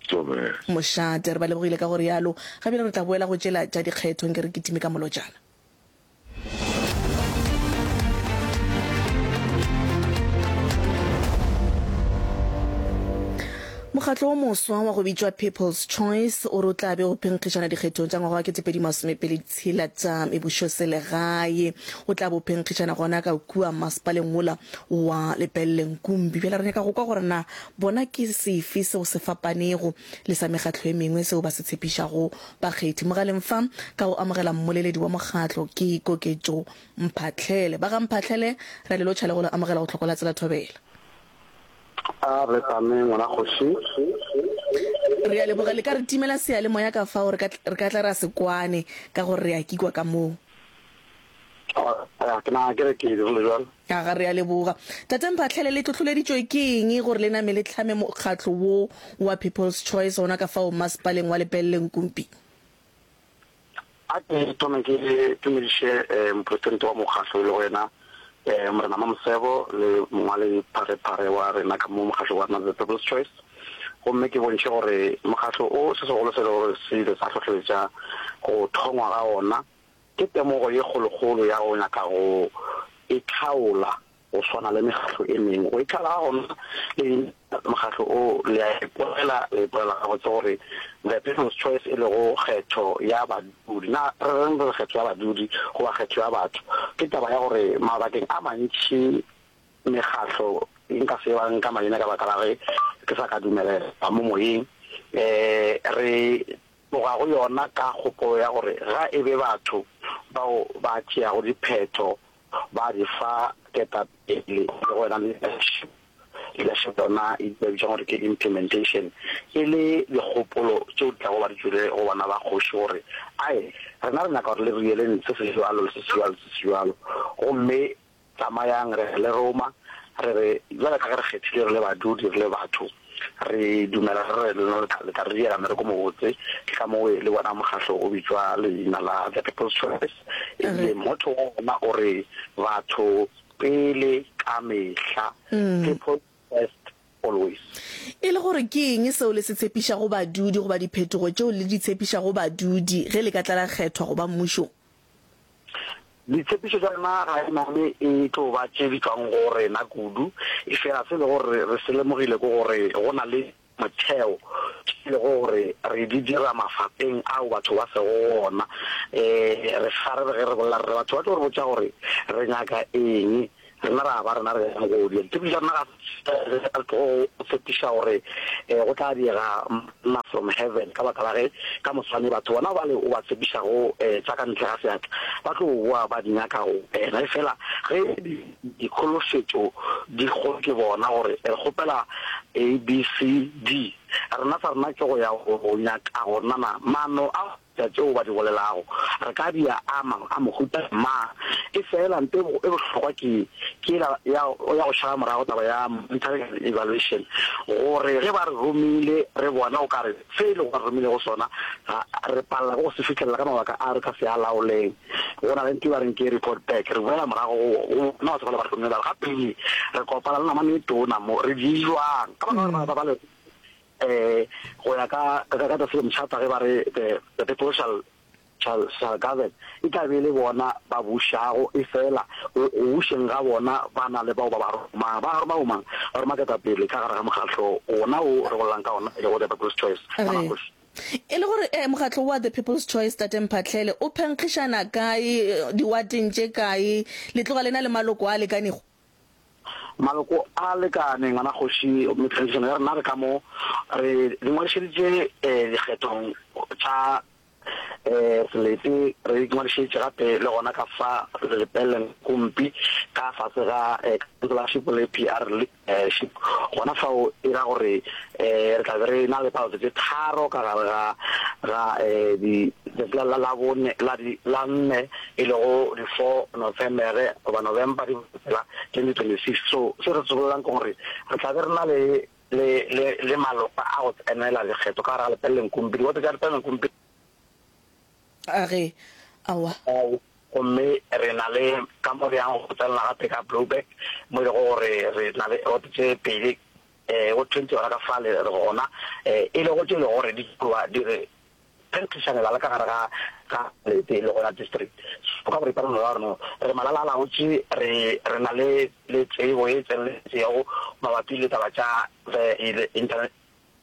Speaker 3: Thobela.
Speaker 1: Mošate, re ba lebogile ka go realo. Ga bjale re tla boela go tšela tša dikgetho nke re kitime ka molotšana. Mokgatlo wo moswa wa go bitšwa People's Choice o re o tla be o phenkgišana dikgethong tša ngwaga wa ketepedi masomepedi tshela tša mebušoselegae. O tla be o phenkgišana gona ka kua masepaleng wola wa Lepelle Nkumpi. Bjale re nyaka go kwa gore na bona ke sefe seo se fapanego le sa mekgatlo e mengwe seo ba se tshepišago bakgethi. Mogaleng fa ka go amogela mmoleledi wa mokgatlo ke Koketšo Mphahlele. Ba ga Mphahlele, re a le lotšha le go le amogela go Tlhoko la Tsela Thobela.
Speaker 2: A re tame ngwana kgoši.
Speaker 1: Re a leboga. Le ka re timela seyalemoya ka fao re ka, re ka tla ra se kwane ka gore re a kikwa ka moo.
Speaker 2: A, ke nagana ke re ke dirile bjalo.
Speaker 1: Aga, re a leboga. Tate Mphahlele, le hlohloleditšwe ke eng gore le name le hlame mokgatlo wo wa People's Choice gona ka fao masepaleng wa Lepelle Nkumpi?
Speaker 2: A ke thome ke tumediše mopresidente wa mokgahlo e lego yena Morena Mamosebo le mongwaledi pharephare wa rena ka mo mokgahlong wa rena The People's Choice, gomme ke bontšhe gore mokgahlo o se segolo se e lego gore se ile sa hlohleletša go thongwa ga ona ke temogo ye kgolokgolo ya go nyaka go itlhaola go swana le mekgatlo e mengwe. Go itlhaola ga gona le mokgatlo o, le a ipolela, le ipolela gabotse gore The People's Choice e lego kgetho ya badudi. Na re reng re re kgetho ya badudi goba kgetho ya batho? Ke taba ya gore mabakeng a mantši mekgatlo, nka se ba nka maina ka baka la ge ke sa ka dumelelwa mo moyeng, re tloga go yona ka kgopolo ya gore ga e be batho bao ba tšeago diphetho ba di fa ketapele le go yona leadership, leadership yona e ba bitšang gore ke implementation, e le dikgopolo tšeo di tlago ba di tšwele go bana ba kgoši gore ae rena re nyaka gore le re dieleng se se bjalo le se se bjalo le se se bjalo, gomme tsamayang re le roma re re bjale ka ge re kgethile re le badudi re le batho re dumela re re lena le tla le tla re diela mmereko mobotse. Ke ka moo le bona mokgahlo o bitšwa leina la The People's Choice, ebile motto wa ona o re batho pele ka mehla, People first always.
Speaker 1: E le gore ke eng seo le se tshepišago badudi goba diphetogo tšeo le di tshepišago badudi ge le ka tla la kgethwa go ba mmušong?
Speaker 2: Ditshepišo tša rena ga e name e tlo ba tše di tšwang go rena kudu, efela se e lego gore re se lemogile ke gore go na le motheo tše e lego gore re di dira mafapeng ao batho ba sego go ona. Re fa re re ge re bolela re re batho ba tlo re botša gore re nyaka eng, Rena ra ba rena re yang go dia. Ditshepišo tša rena ga se re tlogo go tshepiša gore go tla diega manna from heaven, ka baka la ge ka moswane batho bona bale o ba tshepišago tša ka ntle ga seatla ba tlo boa ba di nyaka go wena. Efela ge dikholofetšo di kgolo ke bona gore re kgopela A, B, C, D, rena sa rena ke go ya go nyaka go nana maano a Tša tšeo ba di bolelago, re ka di a ama a mohuta mang. Efela nto e bohlokwa ke ke yela ya ya go šala morago taba ya monitoring and evaluation, gore ge ba re romile re bona o ka re se e lego ba re romilego sona ga re palela ke go se fihlelela ka mabaka a re ka se a laoleng. Go na le nto e ba reng ke report back, re boela morago go bona batho bale ba re romile ba re gape re kopana le namane e tona mo, re di jwang ka baka la gore ba ba le Eh, go ya ka ka ka the Freedom Charter ge ba re the, the people shall shall, shall govern, e tla be e le bona ba bušago, efela go go bušeng ga bona ba na le bao ba ba romang. Ba roma bomang? Ba roma ketapele ka gare ga mokgatlo wona wo re bolelang ka ona, e lego The People's Choice.
Speaker 1: Re,
Speaker 2: Ngwana
Speaker 1: E le gore eh, mokgatlo wa The People's Choice, Tate Mphahlele, o phenkgišana kae, diwateng tše kae, le tloga le na le maloko a lekanego?
Speaker 2: Maloko a lekane, ngwana kgoši, gomme phenkgišano ya rena re ka mo re di ngwadišeditše dikgethong tša selete, re di ngwadišeditše gape le gona ka fa Lepelle Nkumpi ka fase ga councillorship le P R leadership. Gona fao e ra gore re tla be re na le palo tše tharo ka gare ga ga di letšatši la la bone la di la nne e lego di four Nofemere goba November di tsela twenty twenty six. So se re se bolelang ke gore re tla be re na le le le le malokwa a go tsenela dikgetho ka gare ga Lepelle Nkumpi, diwoto tša Lepelle Nkumpi.
Speaker 1: A re, Aowa.
Speaker 2: Gomme re na le ka mo re yang go tsenela gape ka Blouberg, mo e lego gore re na le woto tše pedi, go twenty gona ka fale re gona, e lego tše e lego gore di tloga di re phenkgišanela le ka gare ga ga lete le gona district. So ka boripana no ra gore no re malalaalaotše, re re na le le tsebo e tseneletšego mabapi le taba tša the internet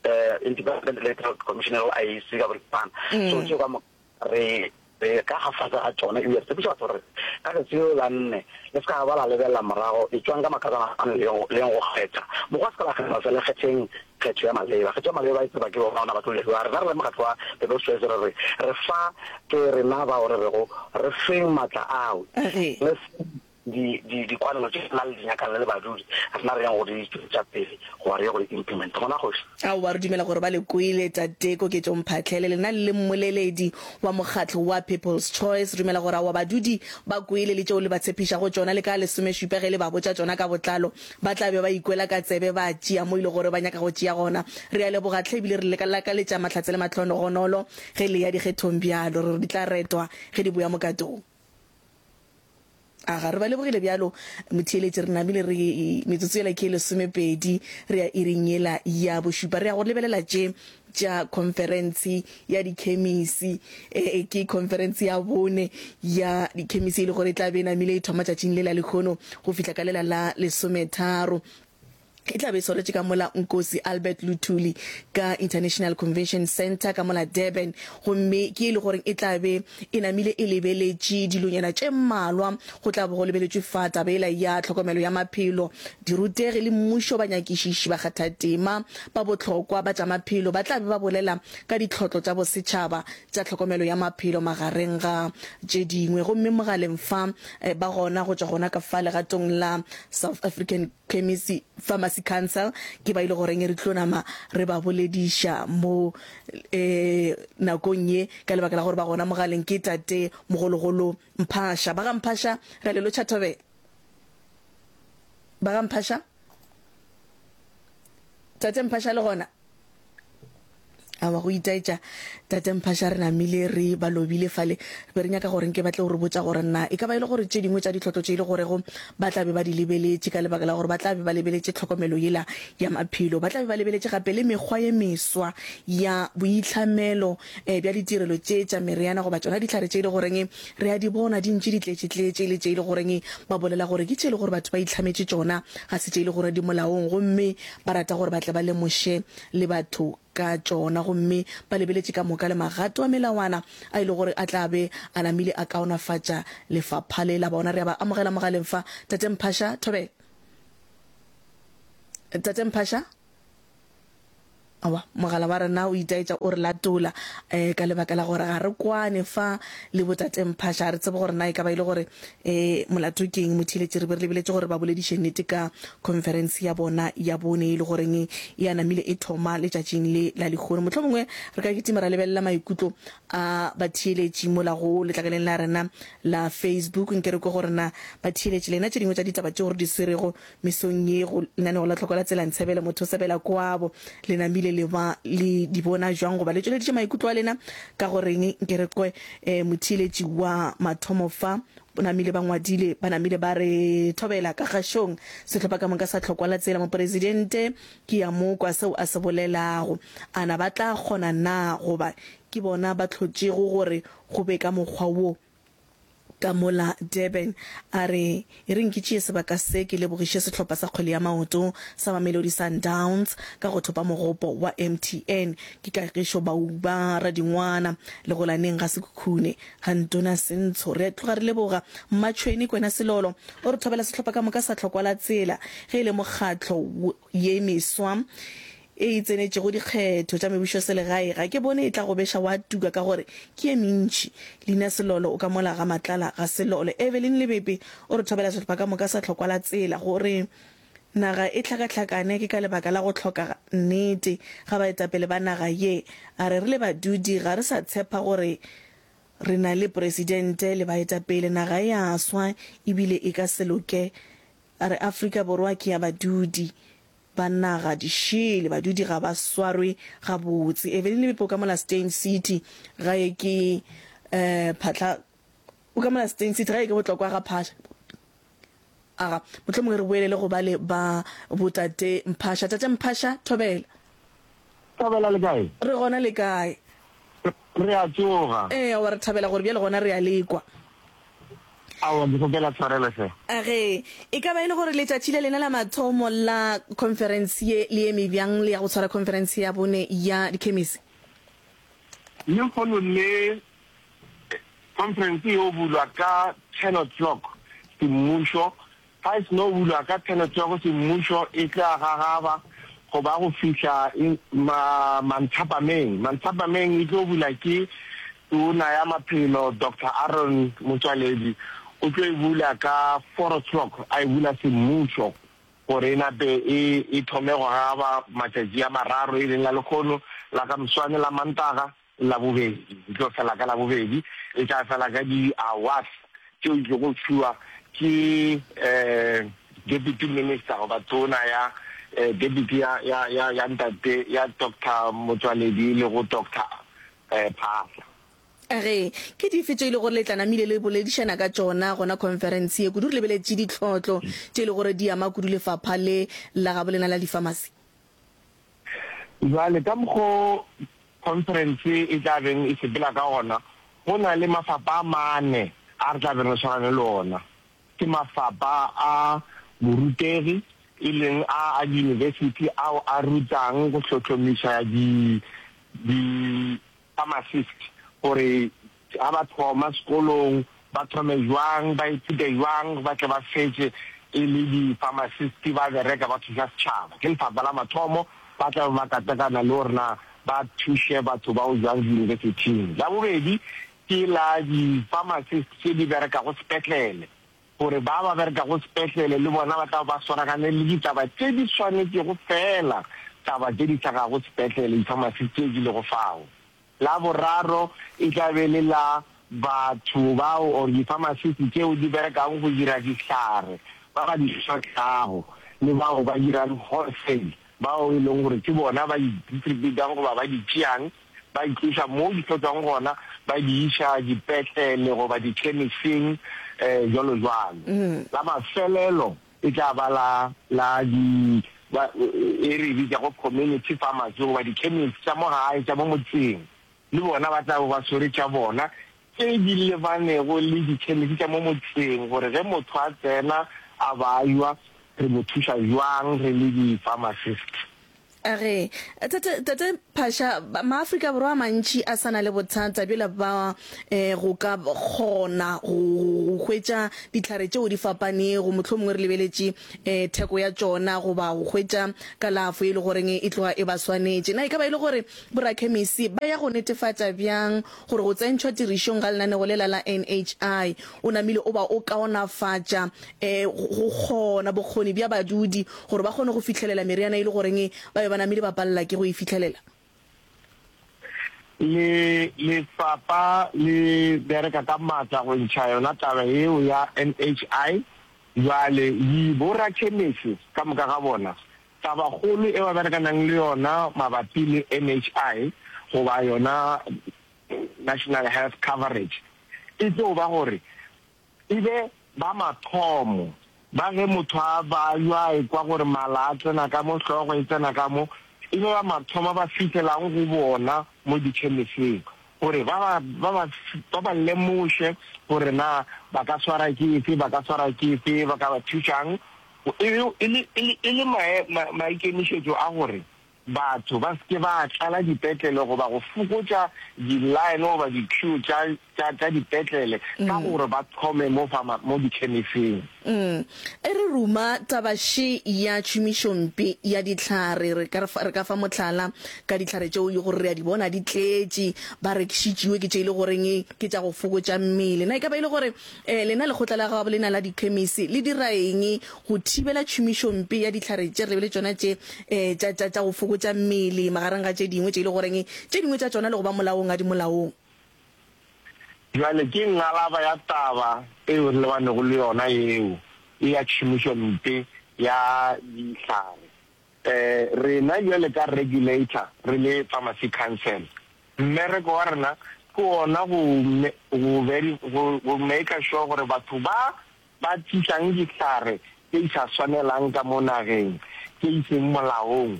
Speaker 2: eh Independent Electoral Commission e I E C ka boripana. So tšeo ka moka re re ka ga fase ga tšona, ebile re tshepiša batho gore ka letšatši leo la nne le se ka ba la lebelela morago, etšwang ka makatana a le yeng go kgetha. Mokgwa se ka la kgetha fela, kgetheng kgetho ya maleba. Kgetho ya maleba e tseba ke bona ba tlo lebiwa. Rena re le mokgatlo wa People's Choice re re re fa ke rena bao re rego re feng matla ao, re feng di, di, dikwanelo tše rena le di nyakang le le badudi, rena re yang go di tšwetša pele goba re ye go di implementa. Gona kgoši.
Speaker 1: Aowa, re dumela gore ba le kwele, Tate Koketšo Mphahlele, lena le le mmoleledi wa mokgatlo wa People's Choice. Re dumela gore aowa badudi ba kwele le tšeo le ba tshepišago tšona, le ka lesomešupa ge le ba botša tšona ka botlalo, ba tla be ba ikwela ka tsebe ba tšea mo e le gore ba nyaka go tšea gona. Re a leboga hle ebile re le lakaletša mahlatse le mahlogonolo ge le ya dikgethong bjalo. Re re di tla retwa ge di boya mokatong. Aga, re ba lebogile bjalo, motheeletši. Re namile re, metsotso yela ke ye lesomepedi, re ya iring yela ya bošupa. Re ya go lebelela tše tša khonferense ya dikhemisi. E, ke khonferense ya bone ya dikhemisi e le gore e tla be e namile e thoma tšatšing le la lehono go fihla ka lela la lesometharo. E tla be e swaretše ka mola Nkosi Albert Luthuli ka International Convention Centre ka mola Durban, gomme ke e le gore e tla be e namile e lebeletše dilonyana tše mmalwa. Go tla bo go lebeletšwe fa taba yela ya tlhokomelo ya maphelo, dirutegi le mmušo, banyakišiši, bakgathatema ba bohlokwa ba tša maphelo ba tla be ba bolela ka ditlhotlo tša bosetšhaba tša tlhokomelo ya maphelo magareng ga tše dingwe. Gomme mogaleng fa ba gona go tšwa gona ka fa legatong la South African Chemist Pharmacy Council ke ba ile goreng re tlo nama re ba bolediša mo eh nakong ye ka lebaka la gore ba gona mogaleng ke tate mogologolo Mphasha. Ba ga Mphasha re a le lotšha thobela. Ba ga Mphasha? Tate Mphasha le gona? Aowa, go itaetša, Tate Mphaša, re namile re ba lobile fale. Re be re nyaka gore nke ba tle go re botša gore na e ka ba e le gore tše dingwe tša ditlhotlo tše e le gorego ba tla be ba di lebeletše ka lebaka la gore ba tla be ba lebeletše tlhokomelo yela ya maphelo, ba tla be ba lebeletše gape le mekgwa ye meswa ya boitlhamelo bja ditirelo tše tša meriana goba tšona dihlare tše e le goreng re a di bona di ntše di tletše-tletše le tše e le goreng ba bolela gore ke tše e le gore batho ba itlhametše tšona, ga se tše e le gore di molaong gomme ba rata gore ba tle ba lemoše le batho ka tšona gomme ba lebeletše ka moka le magato a melawana a e le gore a tla be a namile a kaonafatša lefapha le la bona. Re a ba amogela mogaleng fa, Tate Mphasha. Thobela. Tate Mphasha? Aowa, mogala wa rena o itaetša o re latola um ka lebaka la gore ga re kwane fa le bo Tate Mphasha. Ga re tsebe gore na e ka ba e le gore um molato ke eng. Motheeletši, re be re lebeletše gore ba bolediše nnete ka khonferense ya bona ya bone e le goreng e a namile e thoma letšatšing le la lehono. Mohlomongwe re ka kitima ra lebelela maikutlo a batheeletši mola go letlakaleng la rena la Facebook. Nke re kwe gore na batheeletši lena tše dingwe tša ditaba tšeo re di swerego mesong ye go lenaneo la Tlhoko la Tsela Ntshebele Motho Sebela Kwabo le namile le ba le di bona jwang goba le tšweleditše maikutlo a lena ka go reng. Nke re kwe eh, motheeletši wa mathomo fa o namile ba ngwadile ba namile ba re thobela ka kgašong sehlopha ka moka sa Tlhokwa la Tsela mopresidente ke ya mo kwa seo a se bolelago a na ba tla kgona na goba ke bona ba hlotšego gore go be ka mokgwa wo Ka mola Durban, a re, E reng ke tšee sebaka se ke lebogiše sehlopha sa kgwele ya maoto sa Mamelodi Sundowns ka go thopa mogopo wa M T N. Ke Kagišo Bauba Radingwana, Legolaneng ga Sekhukhune, ga Ntona Sentsho. Re a tloga re leboga Mmatšhweni Kwena Selolo o re thobela sehlopha ka moka sa Tlhokwa la Tsela ge e le mokgatlo ye meswa e e tsenetšego dikgetho tša mebušoselegae, ga ke bone e tla go beša wa tuka ka gore ke ye mentši. Leina Selolo o ka mola ga Matlala ga Selolo. Evelyn Lebepe o re thobela sehlopha ka moka sa Tlhokwa la Tsela gore naga e hlakahlakane ke ka lebaka la go hloka nnete ga baetapele ba naga ye. A re re le badudi ga re sa tshepa gore re na le presidente le baetapele, naga e a swa ebile e ka se loke. A re Afrika Borwa ke ya badudi. Ba naga di šele, badudi ga ba swarwe gabotse. Evelyn Lebepe o ka mola Steyn City, gae ke eh Phatla, o ka mola Steyn City, gae ke Botlokwa ga Phasha. Aga, mohlomongwe re boelele go bale ba bo Tate Mphasha. Tate Mphasha, thobela.
Speaker 6: Thobela le kae?
Speaker 1: Re gona le kae?
Speaker 6: Re a tsoga.
Speaker 1: Ee, aowa re thabela gore bjale gona re a le kwa.
Speaker 6: Aowa, ke kgopela tshwarelo hle.
Speaker 1: Age, e ka ba e le gore letšatši le lena la mathomo la khonferense ye le eme bjang le ya go tshwara khonferense ya bone ya dikhemisi?
Speaker 6: Lehono le, khonferense e yo bulwa ka ten o'clock semmušo. Ga e seno bulwa ka ten o'clock semmušo, e tla gagaba go ba go fihla ma, manthapameng. Manthapameng e tlo bula ke Tona ya Maphelo Doctor Aaron Motsoaledi, o tlo e bula ka four o'clock, a e bula semmušo gore e nape e, e thome go gagaba matšatši a mararo, e leng la lekgono, la ka moswane, la Mantaga le Labobedi. E tlo fela ka Labobedi, e tla fela ka di-awards tšeo di tlogo fiwa ke Deputy Minister goba Tona ya Deputy ya, ya, ya, ya Ntate, ya Doctor Motsoaledi e lego Doctor Phaahla.
Speaker 1: Ge, ke dife tše e le gore le tla namile le boledišana ka tšona gona khonferense ye, kudu re lebeletše ditlhotlo tše e le gore di ama kudu lefapha le la gabo lena la difamasi?
Speaker 6: Bjale ka mokgo khonferense e tla beng e sepela ka gona, go na le mafapa a mane a re tla beng re swarane le ona. Ke mafapa a borutegi, e leng a a diyunibesithi ao a rutang go hlohlomiša di, di-pharmacist gore ga ba thoma sekolong ba thome bjang, ba ithute bjang, ba tle ba fetše e le di-pharmacist ba bereka ba thuša setšhaba. Ke lefapha la mathomo ba tla be ba katakana le gore na ba thuše batho bao bjang diyunibesithing. La bobedi ke la di-pharmacist tše di berekago sepetlele, gore ba ba berekago sepetlele le bona ba tla ba swaragane le ditaba tše di swanetšego feela taba tše di hlagago sepetlele, di-pharmacist tše di lego fao. La boraro e tla be le la batho bao or di-pharmacist tšeo di berekago go dira dihlare, ba ba di hlohlago le bao ba dirang wholesale, bao e leng gore ke bona ba di distributang goba ba di tšeang ba di tloša mo di hlotswang gona ba di iša dipetlele goba dikhemising jwalo jwalo. La mafelelo e tla ba la la di ba e re e bitšago community pharmacy goba dikhemisi tša mo gae tša mo motseng, le bona ba tla bo ba swere tša bona tše di lebanego le dikhemisi tša mo motseng gore ge motho a tsena a bajwa re mo thuša bjang re le di-pharmacist.
Speaker 1: A re, Tate, Tate Phasha, Maafrika Borwa a mantši a sa na le bothata bjola ba go ka kgona go hwetša dihlare tšeo di fapanego, mohlomongwe re lebeletše theko ya tšona goba go hwetša kalafo e le goreng e tloga e ba swanetše. Na e ka ba e le gore borakhemisi ba ya go netefatša bjang gore go tsentšhwa tirišong ga lenanego lela la N H I o namile o ba o kaonafatša go kgona bokgoni bja badudi gore ba kgone go fihlelela meriana e le goreng ba be ba namile ba palela ke go e fihlelela?
Speaker 6: Le lefapha le bereka ka matla go ntšha yona taba yeo ya N H I. Bjale di borakhemese ka moka ga bona, tabakgolo e ba berekanang le yona mabapi le N H I goba yona National Health Coverage e tlo ba gore E be ba mathomo ba ge motho a bajwa a ekwa gore mala a tsena ka mo, hlogo e tsena ka mo, e be ba mathomo ba fihlelang go bona mo dikhemiseng gore ba ba, ba ba, ba ba lemoše gore na ba ka swara ke efe, ba ka swara ke efe, ba ka ba thušang, e be e le, e le, e le mae, ma, maikemišetšo a gore batho ba se ke ba tlala dipetlele goba go fokotša di-line goba di-queue tša, tša, tša dipetlele ka gore ba thome mo pharma, mo dikhemising.
Speaker 1: Mm. E re ruma taba še ya tšhomišompe ya dihlare. Re ka re fa, re ka fa mohlala ka dihlare tšeo e le gore re a di bona di tletše, ba rekišitšiwe ke tše e le goreng ke tša go fokotša mmele. Na e ka ba e le gore eh, lena lekgotla la gabo lena la dikhemisi le dira eng go thibela tšhomišompe ya dihlare tše re lebele tšona tše eh, tša, tša, tša go fokotša mmele magareng ga tše dingwe tše e le goreng tše dingwe tša tšona le go ba molaong ga di molaong?
Speaker 6: Bjale ke ngalaba ya taba eo re lebanego le yona yeo e ya tšhomišompe ya dihlare. Eh, rena bjale ka regulator re le Pharmacy Council, mmereko wa rena ke wona go, go, go, go maker sure gore batho ba ba tlišang dihlare tše di sa swanelang ka mo nageng, tše di seng molaong,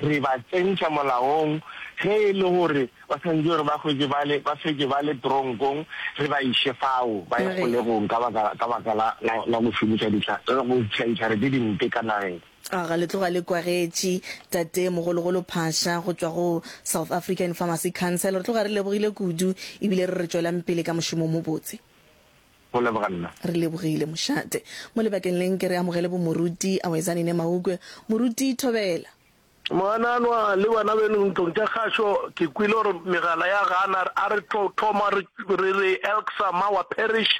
Speaker 6: Re ba tsentšha molaong, ge e le gore ba swanetše gore ba hwetše ba le, ba fetše ba le tronkong, re ba iše fao, ba ye kgolegong ka baka, ka baka la, la, la go šomiša dihla, la go iša dihlare tše dimpe ka nageng.
Speaker 1: Aga, le tloga le kwagetše, Tate Mogologolo Phasha go tšwa go South African Pharmacy Council. Re tloga re lebogile kudu ebile re re tšwelang pele ka mošomo o mobotse.
Speaker 6: Go leboga nna.
Speaker 1: Re lebogile, mošate. Mo lebakeng le nke re amogele bomoruti Awezani Nemaukwe. Moruti Thobela.
Speaker 8: Moananwa le bana beno ntlong tša kgašo, ke kwele gore megala ya gana, a re tlo thoma re re re Elksa Mawa Parish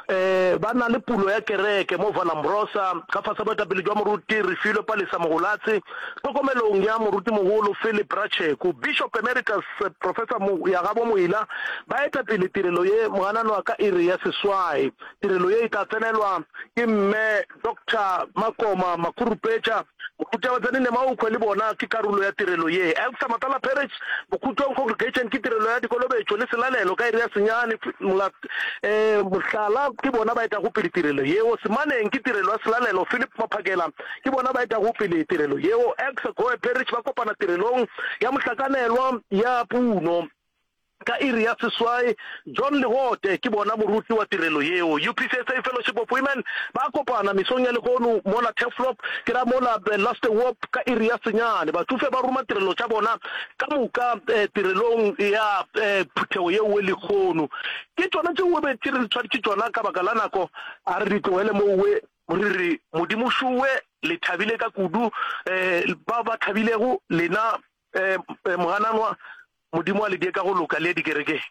Speaker 8: eh, ba na le pulo ya kereke mo Valambrosa ka fase boetapele jwa moruti Refilwe Palesa Mogolatse, tlhokomelong ya morutimogolo Philip Ratšheko. Bishop Emeritus Professor Moyagabo Moila ba eta pele tirelo ye moananwa ka iri ya seswai. Tirelo ye e tla tsenelwa ke Mme Doctor Makoma Makhurupetša, Moruti Abatsani Nemaukwe le bona ke karolo ya tirelo ye. Elsa Matala Parish, Bokhutong Congregation ke tirelo ya dikolobetšo le selalelo ka iri ya senyane. Mohlala ke bona ba etago pele tirelo yeo. Semaneng ke tirelo ya selalelo, Philip Maphakela ke bona ba etago pele tirelo yeo. Elsa Goe Parish ba kopana tirelong ya mohlakanelwa ya puno. Ka iri ya seswai, John Legote ke bona moruti wa tirelo yeo. UPCSA Fellowship of Women ba kopana mesong ya lehono mola Turfloop, ke ra mola Lasterhoop ka iri ya senyane. Batšofe ba ruma tirelo tša bona ka moka tirelong ya phuthego yeo lehono. Ke tšona tšeo be re tshwaretše tšona ka baka la nako, a re di tlogele mowe re re Modimo šowe le thabile ka kudu, ba ba thabilego lena mogananwa Modimo a le die ka go loka le ye dikerekeng.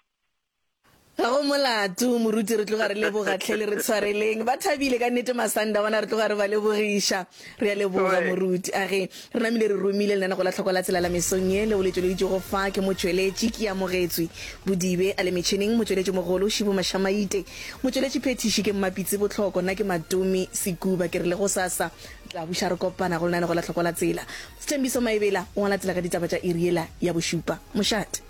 Speaker 1: Ga go molato moruti re tloga re leboga hle le re tshwareleng ba thabile ka nnete masanda bona re tloga re ba lebogiša re a leboga moruti a ge re namile re romile lenanego la tlhoko la tsela la mesong ye leo le tšweleditšwego fa ke motšweletši ke amogetswe Bodibe a le metšhineng motšweletši mogolo Šibu Mašamaite motšweletši phethiši ke Mmapitsi Bohloko nna ke Matome Sekuba ke re le gosasa Tla buša re kopana go lenanego la Hloko la Tsela. Sthembiso Maebela o ngwala tsela ka ditaba tša iri yela ya bošupa. Mošate.